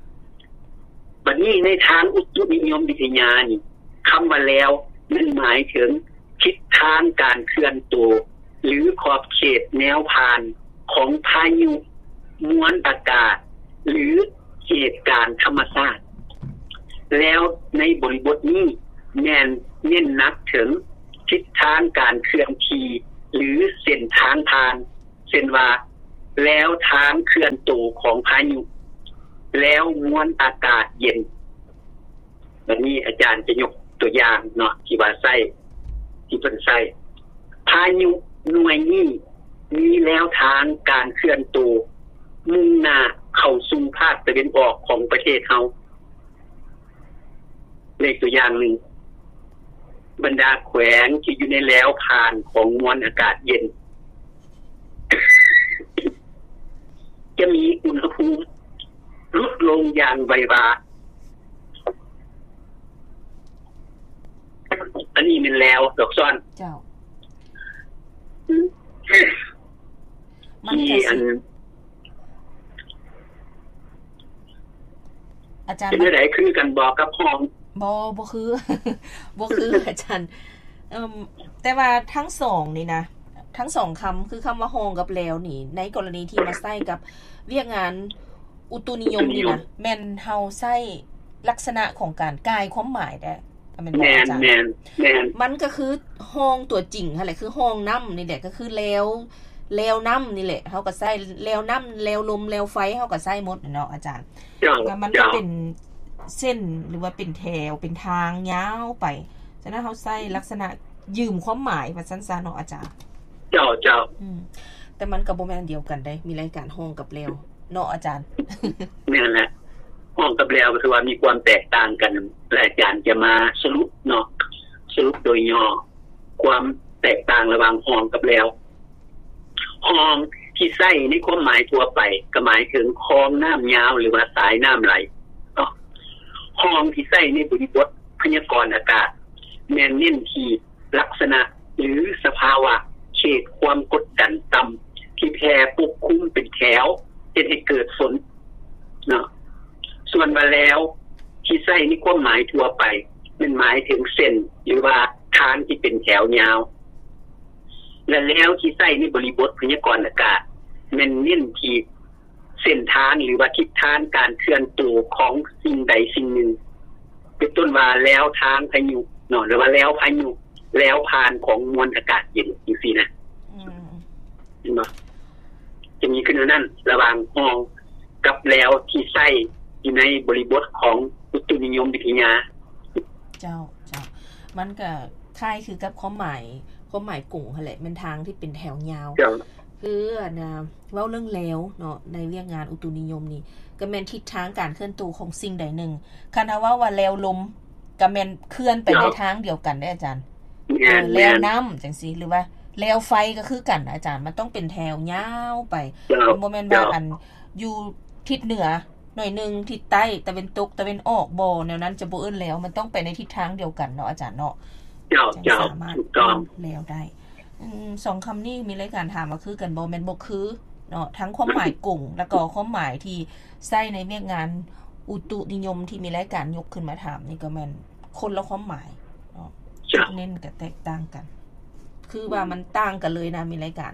ບັດນີ້ໃນທາງອຸຕຸນິຍົມວິທະຍານີ້ ຄຳວ່າແລ້ວ ແມ່ນໝາຍເຖິງທິດທາງການເຄື່ອນໂຕ ຫຼື ຂອບເຂດແນວຜ່ານຂອງພາຍຸ, ມວນອາກາດ ຫຼື ເຫດການທຳມະຊາດ. ແລ້ວໃນບໍລິບົດນີ້ແມ່ນເນັ້ນໜັກເຖິງທິດທາງການເຄື່ອນທີ່ ຫຼື ເສັ້ນທາງຜ່ານ ເຊັ່ນວ່າ ແລວທາງເຄື່ອນໂຕຂອງພາຍຸ ແລວມວນອາກາດເຢັນ. ບັດນີ້ອາຈານຈະຍົກຕົວຢ່າງເນາະ ທີ່ວ່າໃຊ້ ທີ່ເພິ່ນໃຊ້ ພາຍຸໜ່ວຍນີ້ມີແນວທາງການເຄື່ອນໂຕ ມຸ່ງໜ້າເຂົ້າສູ່ພາກຕາເວັນອອກຂອງປະເທດເຮົາ. ເລີກຕົວຢ່າງໜຶ່ງ, ບັນດາແຂວງທີ່ຢູ່ໃນແລວຜ່ານຂອງມວນອາກາດເຢັນ ຈະມີອຸນຫະພູມຫຼຸດລົງຢ່າງໄວວາ. ອັນນີ້ແມ່ນແລວດອກຊອນ. ເຈົ້າ. ມັນກໍຊິ ທີ່ອັນ ອາຈານ ເປັນແນວໃດ ຄືກັນບໍ່ກັບຮ້ອງ? ບໍ່ ບໍ່ຄື ບໍ່ຄື ອາຈານ. ເອີ່ມ ແຕ່ວ່າທັງສອງນີ້ນະ ທັງສອງຄຳ ຄືຄຳວ່າຮ້ອງກັບແລວນີ້ ໃນກໍລະນີທີ່ມາໃຊ້ກັບວຽກງານອຸຕຸນິຍົມນີ້ນະ ອຸຕຸນິຍົມ ແມ່ນເຮົາໃຊ້ລັກສະນະຂອງການກ່າຍຄວາມໝາຍແດ່ ແມ່ນບໍ່ ແມ່ນ ອາຈານ? ແມ່ນ ແມ່ນ. ມັນກໍຄືຮ້ອງຕົວຈິງຫັ້ນແຫຼະ ຄືຮ້ອງນ້ຳນີ້ແຫຼະ ກໍຄືແລວ ແລວນ້ຳນີ້ແຫຼະ ເຮົາກໍໃຊ້ແລວນ້ຳ ແລວລົມ ແລວໄຟ ເຮົາກໍໃຊ້ໝົດເນາະອາຈານ. ເຈົ້າ ແລ້ວມັນກໍ ເຈົ້າ ເປັນເສັ້ນ ຫຼືວ່າເປັນແຖວ ເປັນທາງຍາວໄປ. ສະນັ້ນເຮົາໃຊ້ລັກສະນະຢືມຄວາມໝາຍວ່າຊັ້ນຊະເນາະອາຈານ. ເຈົ້າ ເຈົ້າ. ອືມ ແຕ່ມັນກໍບໍ່ແມ່ນອັນດຽວກັນເດ້ ມີລາຍການຮ້ອງກັບແລວເນາະອາຈານ. ແມ່ນແຫຼະ ຮ້ອງກັບແລວກໍຄືວ່າມີຄວາມແຕກຕ່າງກັນ ແລະອາຈານຈະມາສະຫຼຸບເນາະ ສະຫຼຸບໂດຍຫຍໍ້ ຄວາມແຕກຕ່າງລະຫວ່າງຮ້ອງກັບແລວ. ຮ້ອງທີ່ໃຊ້ໃນຄວາມໝາຍທົ່ວໄປ ກໍໝາຍເຖິງຄອງນ້ຳຍາວ ຫຼືວ່າສາຍນ້ຳໄຫຼເນາະ. ຮ້ອງທີ່ໃຊ້ໃນບໍລິບົດພະຍາກອນອາກາດ ແມ່ນເນັ້ນທີ່ລັກສະນະ ຫຼື ສະພາວະເຂດຄວາມກົດດັນຕ່ຳ ທີ່ແຜ່ປົກຄຸມເປັນແຖວ ເຮັດໃຫ້ເກີດຝົນເນາະ. ສ່ວນວ່າແລວທີ່ໃຊ້ໃນຄວາມໝາຍທົ່ວໄປ ແມ່ນໝາຍເຖິງເສັ້ນ ຫຼືວ່າທາງທີ່ເປັນແຖວຍາວ. ແລະ ແລວທີ່ໃຊ້ໃນບໍລິບົດພະຍາກອນອາກາດ ແມ່ນເນັ້ນທີ່ເສັ້ນທາງ ຫຼືວ່າທິດທາງການເຄື່ອນໂຕຂອງສິ່ງໃດສິ່ງໜຶ່ງ ເປັນຕົ້ນວ່າແລວທາງພາຍຸເນາະ ຫຼືວ່າແລວພາຍຸ ແລວຜ່ານຂອງມວນອາກາດເຢັນ ຈັ່ງຊີ້ນະ. ອືມ ເຫັນບໍ່? ຈະມີຄືແນວນັ້ນ ລະຫວ່າງຮ້ອງກັບແລວທີ່ໃຊ້ຢູ່ໃນບໍລິບົດຂອງອຸຕຸນິຍົມວິທະຍາ. ເຈົ້າ ເຈົ້າ. ມັນກະຄ້າຍຄືກັບຄວາມໝາຍ ຄວາມໝາຍກົງຫັ້ນແຫຼະ ແມ່ນທາງທີ່ເປັນແຖວຍາວ. ເຈົ້າ. ຄືອັນນ່າ ເວົ້າເລື່ອງແລວເນາະ ໃນວຽກງານອຸຕຸນິຍົມນີ້ ກໍແມ່ນທິດທາງການເຄື່ອນໂຕຂອງສິ່ງໃດໜຶ່ງ. ຄັນເຮົາເວົ້າວ່າແລວລົມ ກໍແມ່ນເຄື່ອນໄປໃນທາງດຽວກັນເດ້ອາຈານ. ແມ່ນ ເອີ ແລວນ້ຳຈັ່ງຊີ້ ຫຼືວ່າແລວໄຟກໍຄືກັນອາຈານ ມັນຕ້ອງເປັນແຖວຍາວໄປ. ມັນບໍ່ແມ່ນວ່າອັນຢູ່ທິດເໜືອໜ້ອຍໜຶ່ງ ທິດໃຕ້ ຕາເວັນຕົກ ຕາເວັນອອກ ບໍ່ ແນວນັ້ນຈະບໍ່ເອີ້ນແລວ ມັນຕ້ອງໄປໃນທິດທາງດຽວກັນເນາະອາຈານເນາະ. ເຈົ້າ ເຈົ້າ ສາມາດ ຖືກຕ້ອງ ເອີ້ນແລວໄດ້. ອືມ ສອງຄຳນີ້ມີລາຍການຖາມວ່າຄືກັນບໍ່? ແມ່ນບໍ່ຄືເນາະ ທັງຄວາມໝາຍກົງ ແລ້ວກໍຄວາມໝາຍທີ່ໃຊ້ໃນວຽກງານອຸຕຸນິຍົມທີ່ມີລາຍການຍົກຂຶ້ນມາຖາມນີ້ກໍແມ່ນຄົນລະຄວາມໝາຍເນາະ. ເຈົ້າ. ຈຸດເນັ້ນກໍແຕກຕ່າງກັນ ຄືວ່າມັນຕ່າງກັນເລີຍນະ ມີລາຍການ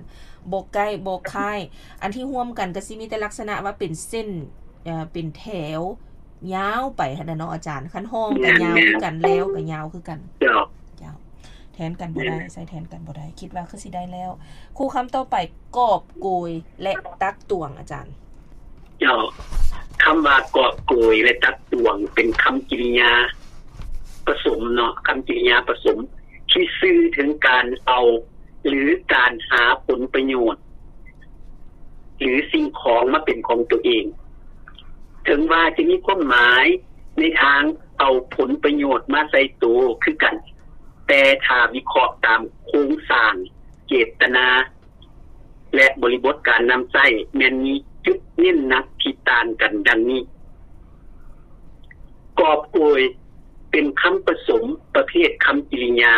ບໍ່ໃກ້ບໍ່ຄ້າຍ. ອັນທີ່ຮ່ວມກັນກໍຊິມີແຕ່ລັກສະນະວ່າເປັນເສັ້ນ ເອີ ເປັນແຖວຍາວໄປຫັ້ນນະເນາະອາຈານ. ຄັນຮ້ອງກໍຍາວຄືກັນ ແລວກໍຍາວຄືກັນ. ເຈົ້າ. ເຈົ້າ. ແທນກັນບໍ່ໄດ້ ໃຊ້ແທນກັນບໍ່ໄດ້. ຄິດວ່າຄືຊິໄດ້ແລ້ວ. ຄູ່ຄຳຕໍ່ໄປ ກອບໂກຍ ແລະ ຕັກຕວງ ອາຈານ. ເຈົ້າ. ຄຳວ່າກອບໂກຍ ແລະ ຕັກຕວງ ເປັນຄຳກິລິຍາປະສົມເນາະ, ຄຳກິລິຍາປະສົມທີ່ສື່ເຖິງການເອົາ ຫຼື ການຫາຜົນປະໂຫຍດ ຫຼື ສິ່ງຂອງມາເປັນຂອງຕົວເອງ. ເຖິງວ່າຈະມີຄວາມໝາຍໃນທາງເອົາຜົນປະໂຫຍດມາໃສ່ໂຕຄືກັນ, ແຕ່ຖ້າວິເຄາະຕາມໂຄງສ້າງ, ເຈດຕະນາ ແລະ ບໍລິບົດການນຳໃຊ້ ແມ່ນມີຈຸດເນັ້ນໜັກທີ່ຕ່າງກັນດັ່ງນີ້. ກອບໂກຍ ເປັນຄຳປະສົມປະເພດຄຳກິລິຍາ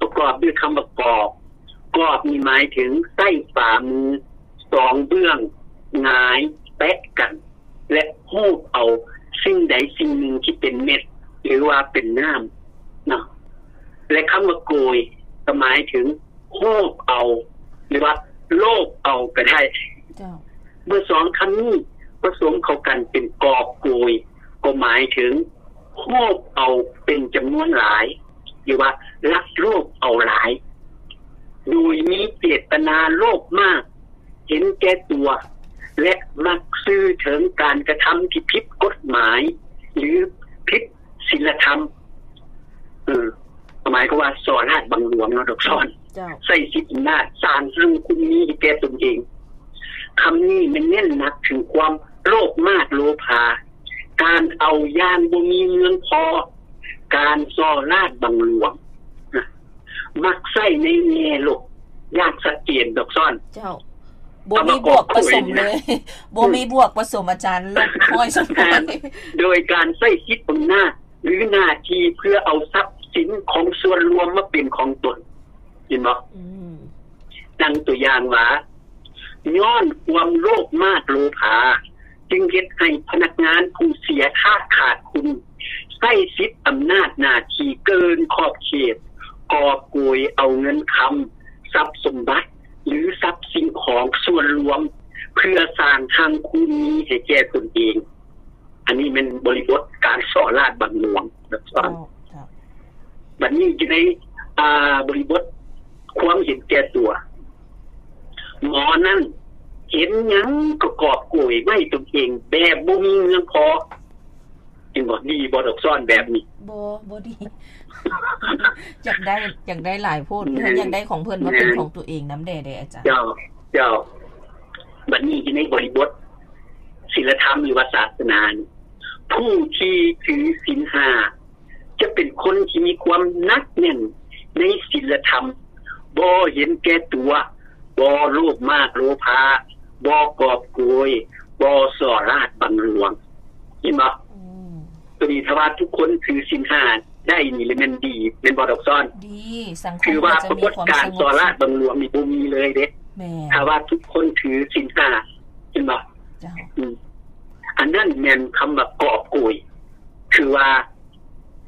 ປະກອບດ້ວຍຄຳວ່າກອບ. ກອບນີ້ໝາຍເຖິງໃຊ້ຝ່າມືສອງເບື້ອງຫງາຍແປະກັນ ແລະ ຮູບເອົາສິ່ງໃດສິ່ງໜຶ່ງທີ່ເປັນເມັດ ຫຼືວ່າເປັນນ້ຳເນາະ. ແລະ ຄຳວ່າໂກຍ ກໍໝາຍເຖິງຮູບເອົາ ຫຼືວ່າໂລບເອົາກໍໄດ້. ເຈົ້າ. ເມື່ອສອງຄຳນີ້ປະສົມເຂົ້າກັນເປັນກອບໂກຍ ກໍໝາຍເຖິງ ໂລບເອົາເປັນຈຳນວນຫຼາຍ ຫຼືວ່າລັກໂລບເອົາຫຼາຍ ໂດຍມີເຈດຕະນາໂລບມາກ ເຫັນແກ່ຕົວ ແລະ ມັກສື່ເຖິງການກະທຳທີ່ຜິດກົດໝາຍ ຫຼື ຜິດສິນລະທຳ. ເອີ ໝາຍຄວາມວ່າສໍ້ລາດບັງຫຼວງເນາະ ດອກຊອນ. ເຈົ້າ. ໃຊ້ສິດອຳນາດສ້າງຮັ່ງຄຸນມີໃຫ້ແກ່ຕົນເອງ. ຄຳນີ້ແມ່ນເນັ້ນໜັກເຖິງຄວາມໂລບມາດໂລພາ, ການເອົາຢ່າງບໍ່ມີເມືອງພໍ, ການສໍ້ລາດບັງຫຼວງ. ມັກໃຊ້ໃນແງ່ລົບຢ່າງຊັດເຈນ ດອກຊອນ. ເຈົ້າ. ບໍ່ມີບວກປະສົມເລີຍ. ບໍ່ມີບວກປະສົມ ອາຈານ ລົບຮ້ອຍສ່ວນຮ້ອຍ. ໂດຍການໃຊ້ສິດອຳນາດ ຫຼື ໜ້າທີ່ເພື່ອເອົາຊັບສິນຂອງສ່ວນລວມມາເປັນຂອງຕົນ. ເຫັນບໍ່? ອືມ. ດັ່ງຕົວຢ່າງວ່າ ຍ້ອນຄວາມໂລບມາດໂລພາ ຈຶ່ງເຮັດໃຫ້ພະນັກງານຜູ້ເສຍທາດຂາດຄຸນ ໃຊ້ສິດອຳນາດໜ້າທີ່ເກີນຂອບເຂດ, ກອບໂກຍເອົາເງິນຄຳ, ຊັບສົມບັດ ຫຼື ຊັບສິ່ງຂອງສ່ວນລວມ ເພື່ອສ້າງຮັ່ງຄູນມີໃຫ້ແກ່ຕົນເອງ. ອັນນີ້ແມ່ນບໍລິບົດການສໍ້ລາດບັງຫຼວງນະ. ເຈົ້າ. ເຈົ້າ. ບັດນີ້ຢູ່ໃນ ອ່າ ບໍລິບົດຄວາມເຫັນແກ່ຕົວ, ໝໍນັ້ນເຫັນຫຍັງກໍກອບໂກຍໄວ້ຕົນເອງແບບບໍ່ມີເມືອງພໍ. ເຫັນບໍ່? ດີບໍ່ ດອກຊອນ ແບບນີ້? ບໍ່ ບໍ່ດີ. ຢາກໄດ້ ຢາກໄດ້ຫຼາຍໂພດ. ອືມ. ຢາກໄດ້ຂອງເພິ່ນມາເປັນຂອງຕົວເອງນຳແດ່ເດ້ ອາຈານ. ເຈົ້າ ເຈົ້າ. ບັດນີ້ຢູ່ໃນບໍລິບົດ ສິນລະທຳ ຫຼືວ່າສາສະໜານີ້ ຜູ້ທີ່ຖືສິນຫ້າຈະເປັນຄົນທີ່ມີຄວາມໜັກແໜ້ນໃນສິນລະທຳ, ບໍ່ເຫັນແກ່ຕົວ, ບໍ່ໂລບມາດໂລພາ, ບໍ່ກອບໂກຍ, ບໍ່ສໍ້ລາດບັງຫຼວງ. ເຫັນບໍ່? ອືມ. ຕົວນີ້ຖ້າວ່າທຸກຄົນຖືສິນຫ້າໄດ້ນີ້ລະແມ່ນດີ ແມ່ນບໍ່ ດອກຊອນ? ດີ. ສັງຄົມ ຄືວ່າປະກົດການສໍ້ລາດບັງຫຼວງນີ້ບໍ່ມີເລີຍເດ້. ແມ່ນ. ຖ້າວ່າທຸກຄົນຖືສິນຫ້າ ເຫັນບໍ່? ເຈົ້າ. ອືມ. ອັນນັ້ນແມ່ນຄຳວ່າກອບໂກຍ ຄືວ່າ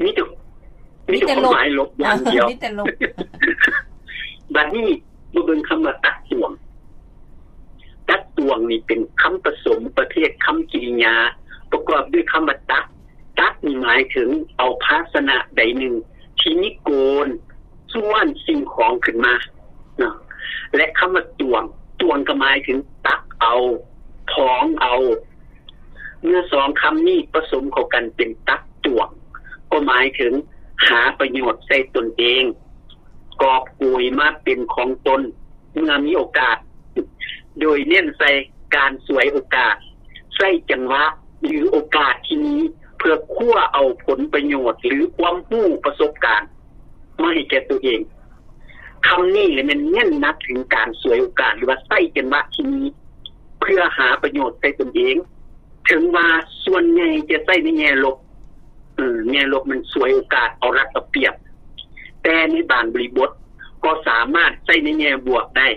ມີແຕ່ ມີແຕ່ ມີແຕ່ຄວາມໝາຍລົບຢ່າງດຽວ. ມີແຕ່ລົບ. ບັດນີ້ມາເບິ່ງຄຳວ່າຕັກຕວງ. ຕັກຕວງນີ້ເປັນຄຳປະສົມປະເພດຄຳກິລິຍາ ປະກອບດ້ວຍຄຳວ່າຕັກ. ຕັກນີ້ໝາຍເຖິງເອົາພາຊະນະໃດໜຶ່ງທີ່ມີໂກນ ສ່ວນສິ່ງຂອງຂຶ້ນມາເນາະ ແລະ ຄຳວ່າຕວງ, ຕວງກໍໝາຍເຖິງຕັກເອົາ, ຖອງເອົາ. ເມື່ອສອງຄຳນີ້ປະສົມເຂົ້າກັນເປັນຕັກຕວງ ກໍໝາຍເຖິງຫາປະໂຫຍດໃສ່ຕົນເອງ, ກອບໂກຍມາເປັນຂອງຕົນເມື່ອມີໂອກາດ, ໂດຍເນັ້ນໃສ່ການສວຍໂອກາດ, ໃຊ້ຈັງຫວະ ຫຼື ໂອກາດທີ່ມີ ເພື່ອຄວ້າເອົາຜົນປະໂຫຍດ ຫຼື ຄວາມຮູ້ປະສົບການ ມາໃຫ້ແກ່ຕົວເອງ. ຄຳນີ້ແຫຼະແມ່ນເນັ້ນໜັກເຖິງການສວຍໂອກາດ ຫຼືວ່າໃຊ້ຈັງຫວະທີ່ມີເພື່ອຫາປະໂຫຍດໃສ່ຕົນເອງ. ເຖິງວ່າສ່ວນໃຫຍ່ຈະໃຊ້ໃນແງ່ລົບ, ເອີ ແງ່ລົບມັນສວຍໂອກາດ ເອົາລັດເອົາປຽບ, ແຕ່ໃນບາງບໍລິບົດກໍສາມາດໃຊ້ໃນແງ່ບວກໄດ້.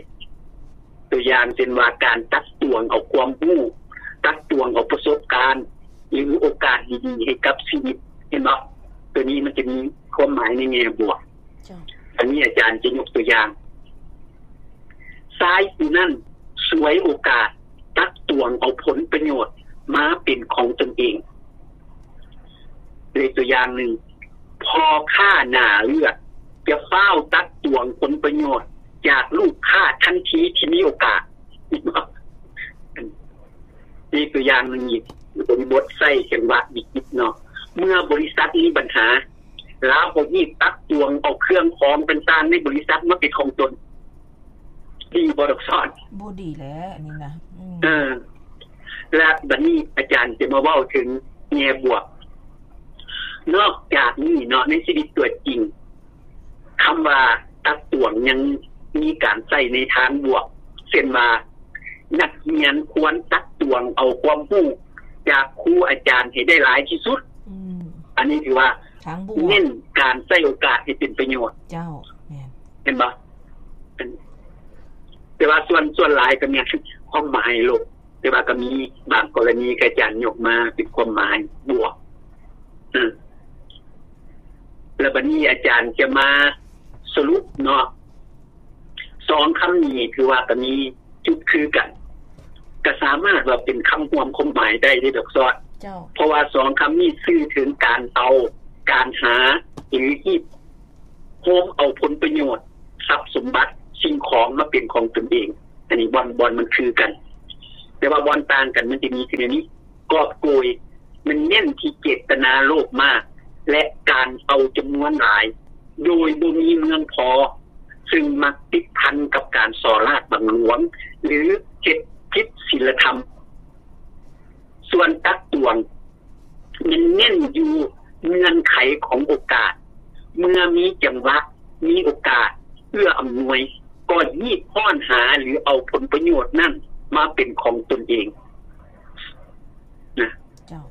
ຕົວຢ່າງເຊັ່ນວ່າ ການຕັກຕວງເອົາຄວາມຮູ້, ຕັກຕວງເອົາປະສົບການ ຫຼື ໂອກາດດີໆໃຫ້ກັບຊີວິດ, ເຫັນບໍ່? ຕົວນີ້ມັນຈະມີຄວາມໝາຍໃນແງ່ບວກ. ເຈົ້າ. ອັນນີ້ອາຈານຈະຍົກຕົວຢ່າງ, ຊາຍຜູ້ນັ້ນສວຍໂອກາດຕັກຕວງເອົາຜົນປະໂຫຍດມາເປັນຂອງຕົນເອງ. ເລີຍຕົວຢ່າງໜຶ່ງ, ພໍ່ຄ້າໜ້າເລືອດຈະຟ້າວຕັກຕວງຜົນປະໂຫຍດຈາກລູກຄ້າທັນທີທີ່ມີໂອກາດ. ນີ້ຕົວຢ່າງໜຶ່ງອີກ, ບົດໃຊ້ຈັງຫວະວິກິດເນາະ. ເມື່ອບໍລິສັດມີບັນຫາ, ລາວກໍຮີບຕັກຕວງເອົາເຄື່ອງຂອງຕ່າງໆໃນບໍລິສັດມາເປັນຂອງຕົນ. ດີບໍ່ ດອກຊອນ? ບໍ່ດີແຫຼະອັນນີ້ນະ. ອືມ. ເອີ. ແລະ ບັດນີ້ອາຈານຈະມາເວົ້າເຖິງແງ່ບວກ. ນອກຈາກນີ້ເນາະ, ໃນຊີວິດຕົວຈິງ, ຄຳວ່າຕັກຕວງຍັງມີການໃຊ້ໃນທາງບວກ, ເຊັ່ນວ່າ ນັກຮຽນຄວນຕັກຕວງເອົາຄວາມຮູ້ຈາກຄູອາຈານໃຫ້ໄດ້ຫຼາຍທີ່ສຸດ. ອືມ. ອັນນີ້ຖືວ່າ ທາງບວກ ເນັ້ນການໃຊ້ໂອກາດໃຫ້ເປັນປະໂຫຍດ. ເຈົ້າ, ແມ່ນ. ເຫັນບໍ່? ແຕ່ວ່າສ່ວນ, ສ່ວນຫຼາຍກໍແມ່ນຄວາມໝາຍລົບ, ແຕ່ວ່າກໍມີບາງກໍລະນີທີ່ອາຈານຍົກມາເປັນຄວາມໝາຍບວກ. ອາ ແລ້ວບັດນີ້ອາຈານຈະມາສະຫຼຸບເນາະ, ສອງຄຳນີ້ຖືວ່າກໍມີຈຸດຄືກັນ, ກໍສາມາດວ່າເປັນຄຳຮ່ວມຄວາມໝາຍໄດ້ເດ້ ດອກຊອນ. ເຈົ້າ. ເພາະວ່າສອງຄຳນີ້ສື່ເຖິງການເອົາ, ການຫາ ຫຼື ຮີບໂຮມເອົາຜົນປະໂຫຍດ, ຊັບສົມບັດ, ສິ່ງຂອງມາເປັນຂອງຕົນເອງ. ອັນນີ້ບ່ອນ, ບ່ອນມັນຄືກັນ. ແຕ່ວ່າບ່ອນຕ່າງກັນມັນຈະມີຄືແນວນີ້. ກອບໂກຍມັນເນັ້ນທີ່ເຈດຕະນາໂລບມາກ ແລະ ການເອົາຈຳນວນຫຼາຍ ໂດຍບໍ່ມີເມືອງພໍ ຊຶ່ງມັກຕິດພັນກັບການສໍ້ລາດບັງຫຼວງ ຫຼື ເຮັດຜິດສິນລະທຳ. ສ່ວນຕັກຕວງ ແມ່ນເນັ້ນຢູ່ເງື່ອນໄຂຂອງໂອກາດ, ເມື່ອມີຈັງຫວະ, ມີໂອກາດເອື້ອອຳນວຍ, ກໍຮີບຮ້ອນຫາ ຫຼື ເອົາຜົນປະໂຫຍດນັ້ນມາເປັນຂອງຕົນເອງນະ. ເຈົ້າ.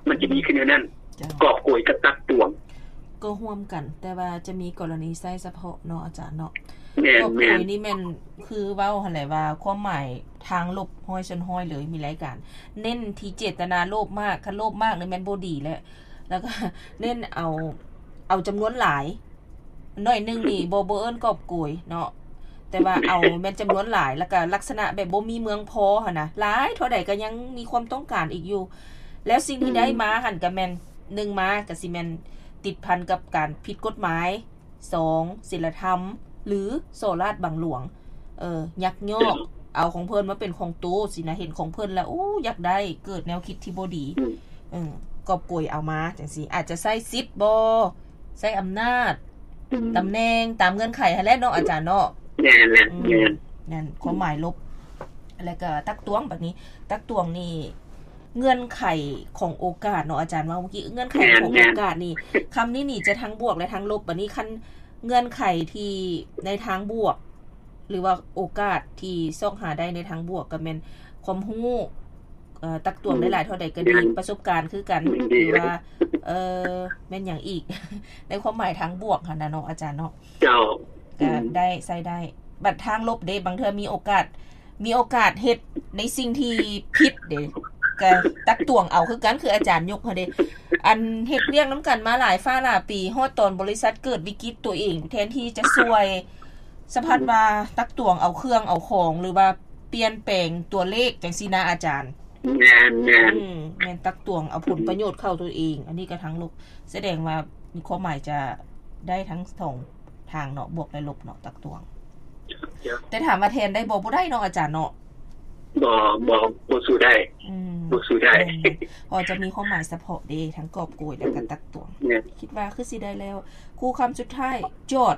ມັນຈະມີຄືແນວນັ້ນ. ເຈົ້າ. ກອບໂກຍກັບຕັກຕວງ ກໍຮ່ວມກັນ, ແຕ່ວ່າຈະມີກໍລະນີໃຊ້ສະເພາະເນາະ ອາຈານເນາະ. ແມ່ນ, ກອບໂກຍນີ້ແມ່ນຄືເວົ້າຫັ້ນແຫຼະວ່າ ຄວາມໝາຍທາງລົບຮ້ອຍສ່ວນຮ້ອຍເລີຍ, ມີຫຼາຍການເນັ້ນທີ່ເຈດຕະນາໂລບມາກ, ຄັນໂລບມາກນີ້ແມ່ນບໍ່ດີແຫຼະ, ແລ້ວກໍເນັ້ນເອົາ, ເອົາຈຳນວນຫຼາຍ. ໜ້ອຍໜຶ່ງນີ້ບໍ່, ບໍ່ເອີ້ນກອບໂກຍເນາະ, ແຕ່ວ່າເອົາແມ່ນຈຳນວນຫຼາຍ ແລ້ວກໍລັກສະນະແບບບໍ່ມີເມືອງພໍຫັ້ນນະ, ຫຼາຍເທົ່າໃດກໍຍັງມີຄວາມຕ້ອງການອີກຢູ່. ແລ້ວສິ່ງທີ່ໄດ້ມາຫັ້ນກໍແມ່ນ ໜຶ່ງມາກໍຊິແມ່ນຕິດພັນກັບການຜິດກົດໝາຍ, ສອງ ສິນລະທຳ ຫຼື ສໍ້ລາດບັງຫຼວງ, ເອີ ຍັກຍອກເອົາຂອງເພິ່ນມາເປັນຂອງໂຕຊີ້ນະ, ເຫັນຂອງເພິ່ນແລ້ວ ໂອ້ ຢາກໄດ້, ເກີດແນວຄິດທີ່ບໍ່ດີ. ອືມ. ເອີ ກອບໂກຍເອົາມາຈັ່ງຊີ້ ອາດຈະໃຊ້ສິດບໍ ໃຊ້ອຳນາດ, ອືມ ຕຳແໜ່ງ ຕາມເງື່ອນໄຂຫັ້ນແຫຼະເນາະ ອາຈານເນາະ. ແມ່ນແຫຼະ. ອືມ ແມ່ນ ນັ້ນຄວາມໝາຍລົບ. ແລ້ວກໍຕັກຕວງ ບັດນີ້ ຕັກຕວງນີ້ ເງື່ອນໄຂຂອງໂອກາດເນາະ ອາຈານເວົ້າເມື່ອກີ້, ເງື່ອນໄຂຂອງໂອກາດນີ້ ຄຳນີ້ນີ້ຈະທັງບວກ ແລະ ທັງລົບ. ບັດນີ້ ຄັນເງື່ອນໄຂທີ່ໃນທາງບວກ ຫຼືວ່າໂອກາດທີ່ຊອກຫາໄດ້ໃນທາງບວກ ກໍແມ່ນຄວາມຮູ້, ເອີ ຕັກຕວງໄດ້ຫຼາຍເທົ່າໃດກໍດີ, ປະສົບການຄືກັນ ຫຼືວ່າ ເອີ ແມ່ນຫຍັງອີກ ໃນຄວາມໝາຍທາງບວກຫັ້ນນະເນາະ ອາຈານເນາະ. ເຈົ້າ. ກໍໄດ້ ໃຊ້ໄດ້. ບັດທາງລົບເດ້ ບາງເທື່ອມີໂອກາດ, ມີໂອກາດເຮັດໃນສິ່ງທີ່ຜິດເດ້ ກໍຕັກຕວງເອົາຄືກັນ, ຄືອາຈານຍົກຫັ້ນເດ້. ອັນເຮັດວຽກນຳກັນມາຫຼາຍຟ້າຫຼາຍປີ, ຮອດຕອນບໍລິສັດເກີດວິກິດຕົວເອງ, ແທນທີ່ຈະຊ່ວຍ, ສະພັດວ່າຕັກຕວງເອົາເຄື່ອງເອົາຂອງ ຫຼືວ່າປ່ຽນແປງຕົວເລກຈັ່ງຊີ້ນະ ອາຈານ. ແມ່ນ, ແມ່ນ. ອືມ, ແມ່ນຕັກຕວງເອົາຜົນປະໂຫຍດເຂົ້າຕົວເອງ. ອັນນີ້ກໍທາງລົບ, ສະແດງວ່າມີຄວາມໝາຍຈະໄດ້ທັງສອງ ທາງເນາະ, ບວກ ແລະ ລົບເນາະ, ຕັກຕວງ. ແຕ່ຖາມວ່າແທນໄດ້ບໍ່? ບໍ່ໄດ້ເນາະ ອາຈານເນາະ. ບໍ່, ບໍ່, ບໍ່ສູ້ໄດ້. ອືມ, ບໍ່ສູ້ໄດ້. ແມ່ນ, ເພາະຈະມີຄວາມໝາຍສະເພາະເດ້, ທັງກອບໂກຍ ແລະ ກໍຕັກຕວງ. ແມ່ນ. ຄິດວ່າຄືຊິໄດ້ແລ້ວ. ຄູ່ຄຳສຸດທ້າຍ, ຈອດ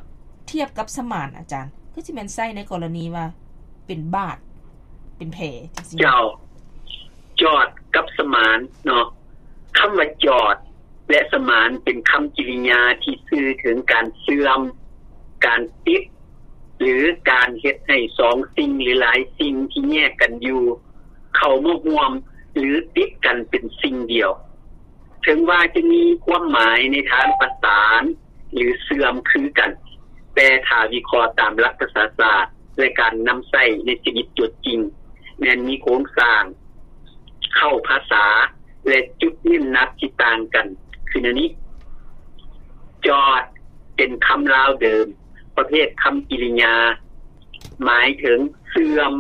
ທຽບກັບສະໝານ, ອາຈານ, ຄືຊິແມ່ນໃຊ້ໃນກໍລະນີວ່າເປັນບາດ, ເປັນແຜ ຈັ່ງຊີ້. ເຈົ້າ. ຈອດກັບສະໝານເນາະ, ຄຳວ່າຈອດ ແລະ ສະໝານເປັນຄຳກິລິຍາທີ່ສື່ເຖິງການເຊື່ອມ, ການຕິດ ຫຼື ການເຮັດໃຫ້ສອງສິ່ງ ຫຼື ຫຼາຍສິ່ງທີ່ແຍກກັນຢູ່ ເຂົ້າມາຮ່ວມ ຫຼື ຕິດກັນເປັນສິ່ງດຽວ. ເຖິງວ່າຈະມີຄວາມໝາຍໃນທາງປະສານ ຫຼື ເຊື່ອມຄືກັນ, ແຕ່ຖ້າວິເຄາະຕາມຫຼັກພາສາສາດ ແລະ ການນຳໃຊ້ໃນຊີວິດຕົວຈິງ, ແມ່ນມີໂຄງສ້າງ, ເຄົ້າພາສາ ແລະ ຈຸດເນັ້ນໜັກທີ່ຕ່າງກັນ ຄືແນວນີ້. ຈອດ ເປັນຄຳລາວເດີມ ປະເພດຄຳກິລິຍາ, ໝາຍເຖິງເຊື່ອມ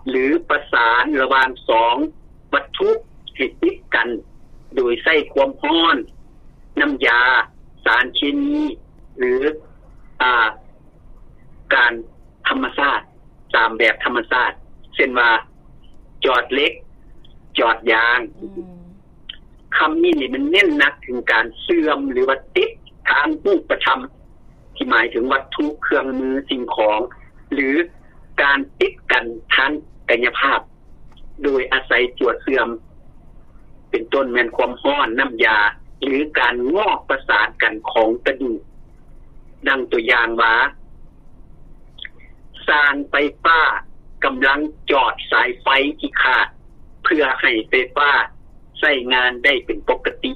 ຫຼື ປະສານລະຫວ່າງສອງວັດຖຸໃຫ້ຕິດກັນ ໂດຍໃຊ້ຄວາມຮ້ອນ, ນ້ຳຢາ, ສານເຄມີ ຫຼື ອາ ການທຳມະຊາດ, ຕາມແບບທຳມະຊາດ, ເຊັ່ນວ່າ ຈອດເຫຼັກ, ຈອດຢາງ. ອືມ. ຄຳນີ້ນີ້ມັນເນັ້ນໜັກເຖິງການເຊື່ອມ ຫຼືວ່າຕິດທາງຮູບປະທຳ ທີ່ໝາຍເຖິງວັດຖຸ, ເຄື່ອງມື, ສິ່ງຂອງ ຫຼື ການຕິດກັນທາງກາຍະພາບ ໂດຍອາໄສຕົວເຊື່ອມ ເປັນຕົ້ນແມ່ນຄວາມຮ້ອນ, ນ້ຳຢາ ຫຼື ການງອກປະສານກັນຂອງກະດູກ. ດັ່ງຕົວຢ່າງວ່າ ຊ່າງໄຟຟ້າກຳລັງຈອດສາຍໄຟທີ່ຂາດ ເພື່ອໃຫ້ໄຟຟ້າໃຊ້ງານໄດ້ເປັນປົກກະຕິ.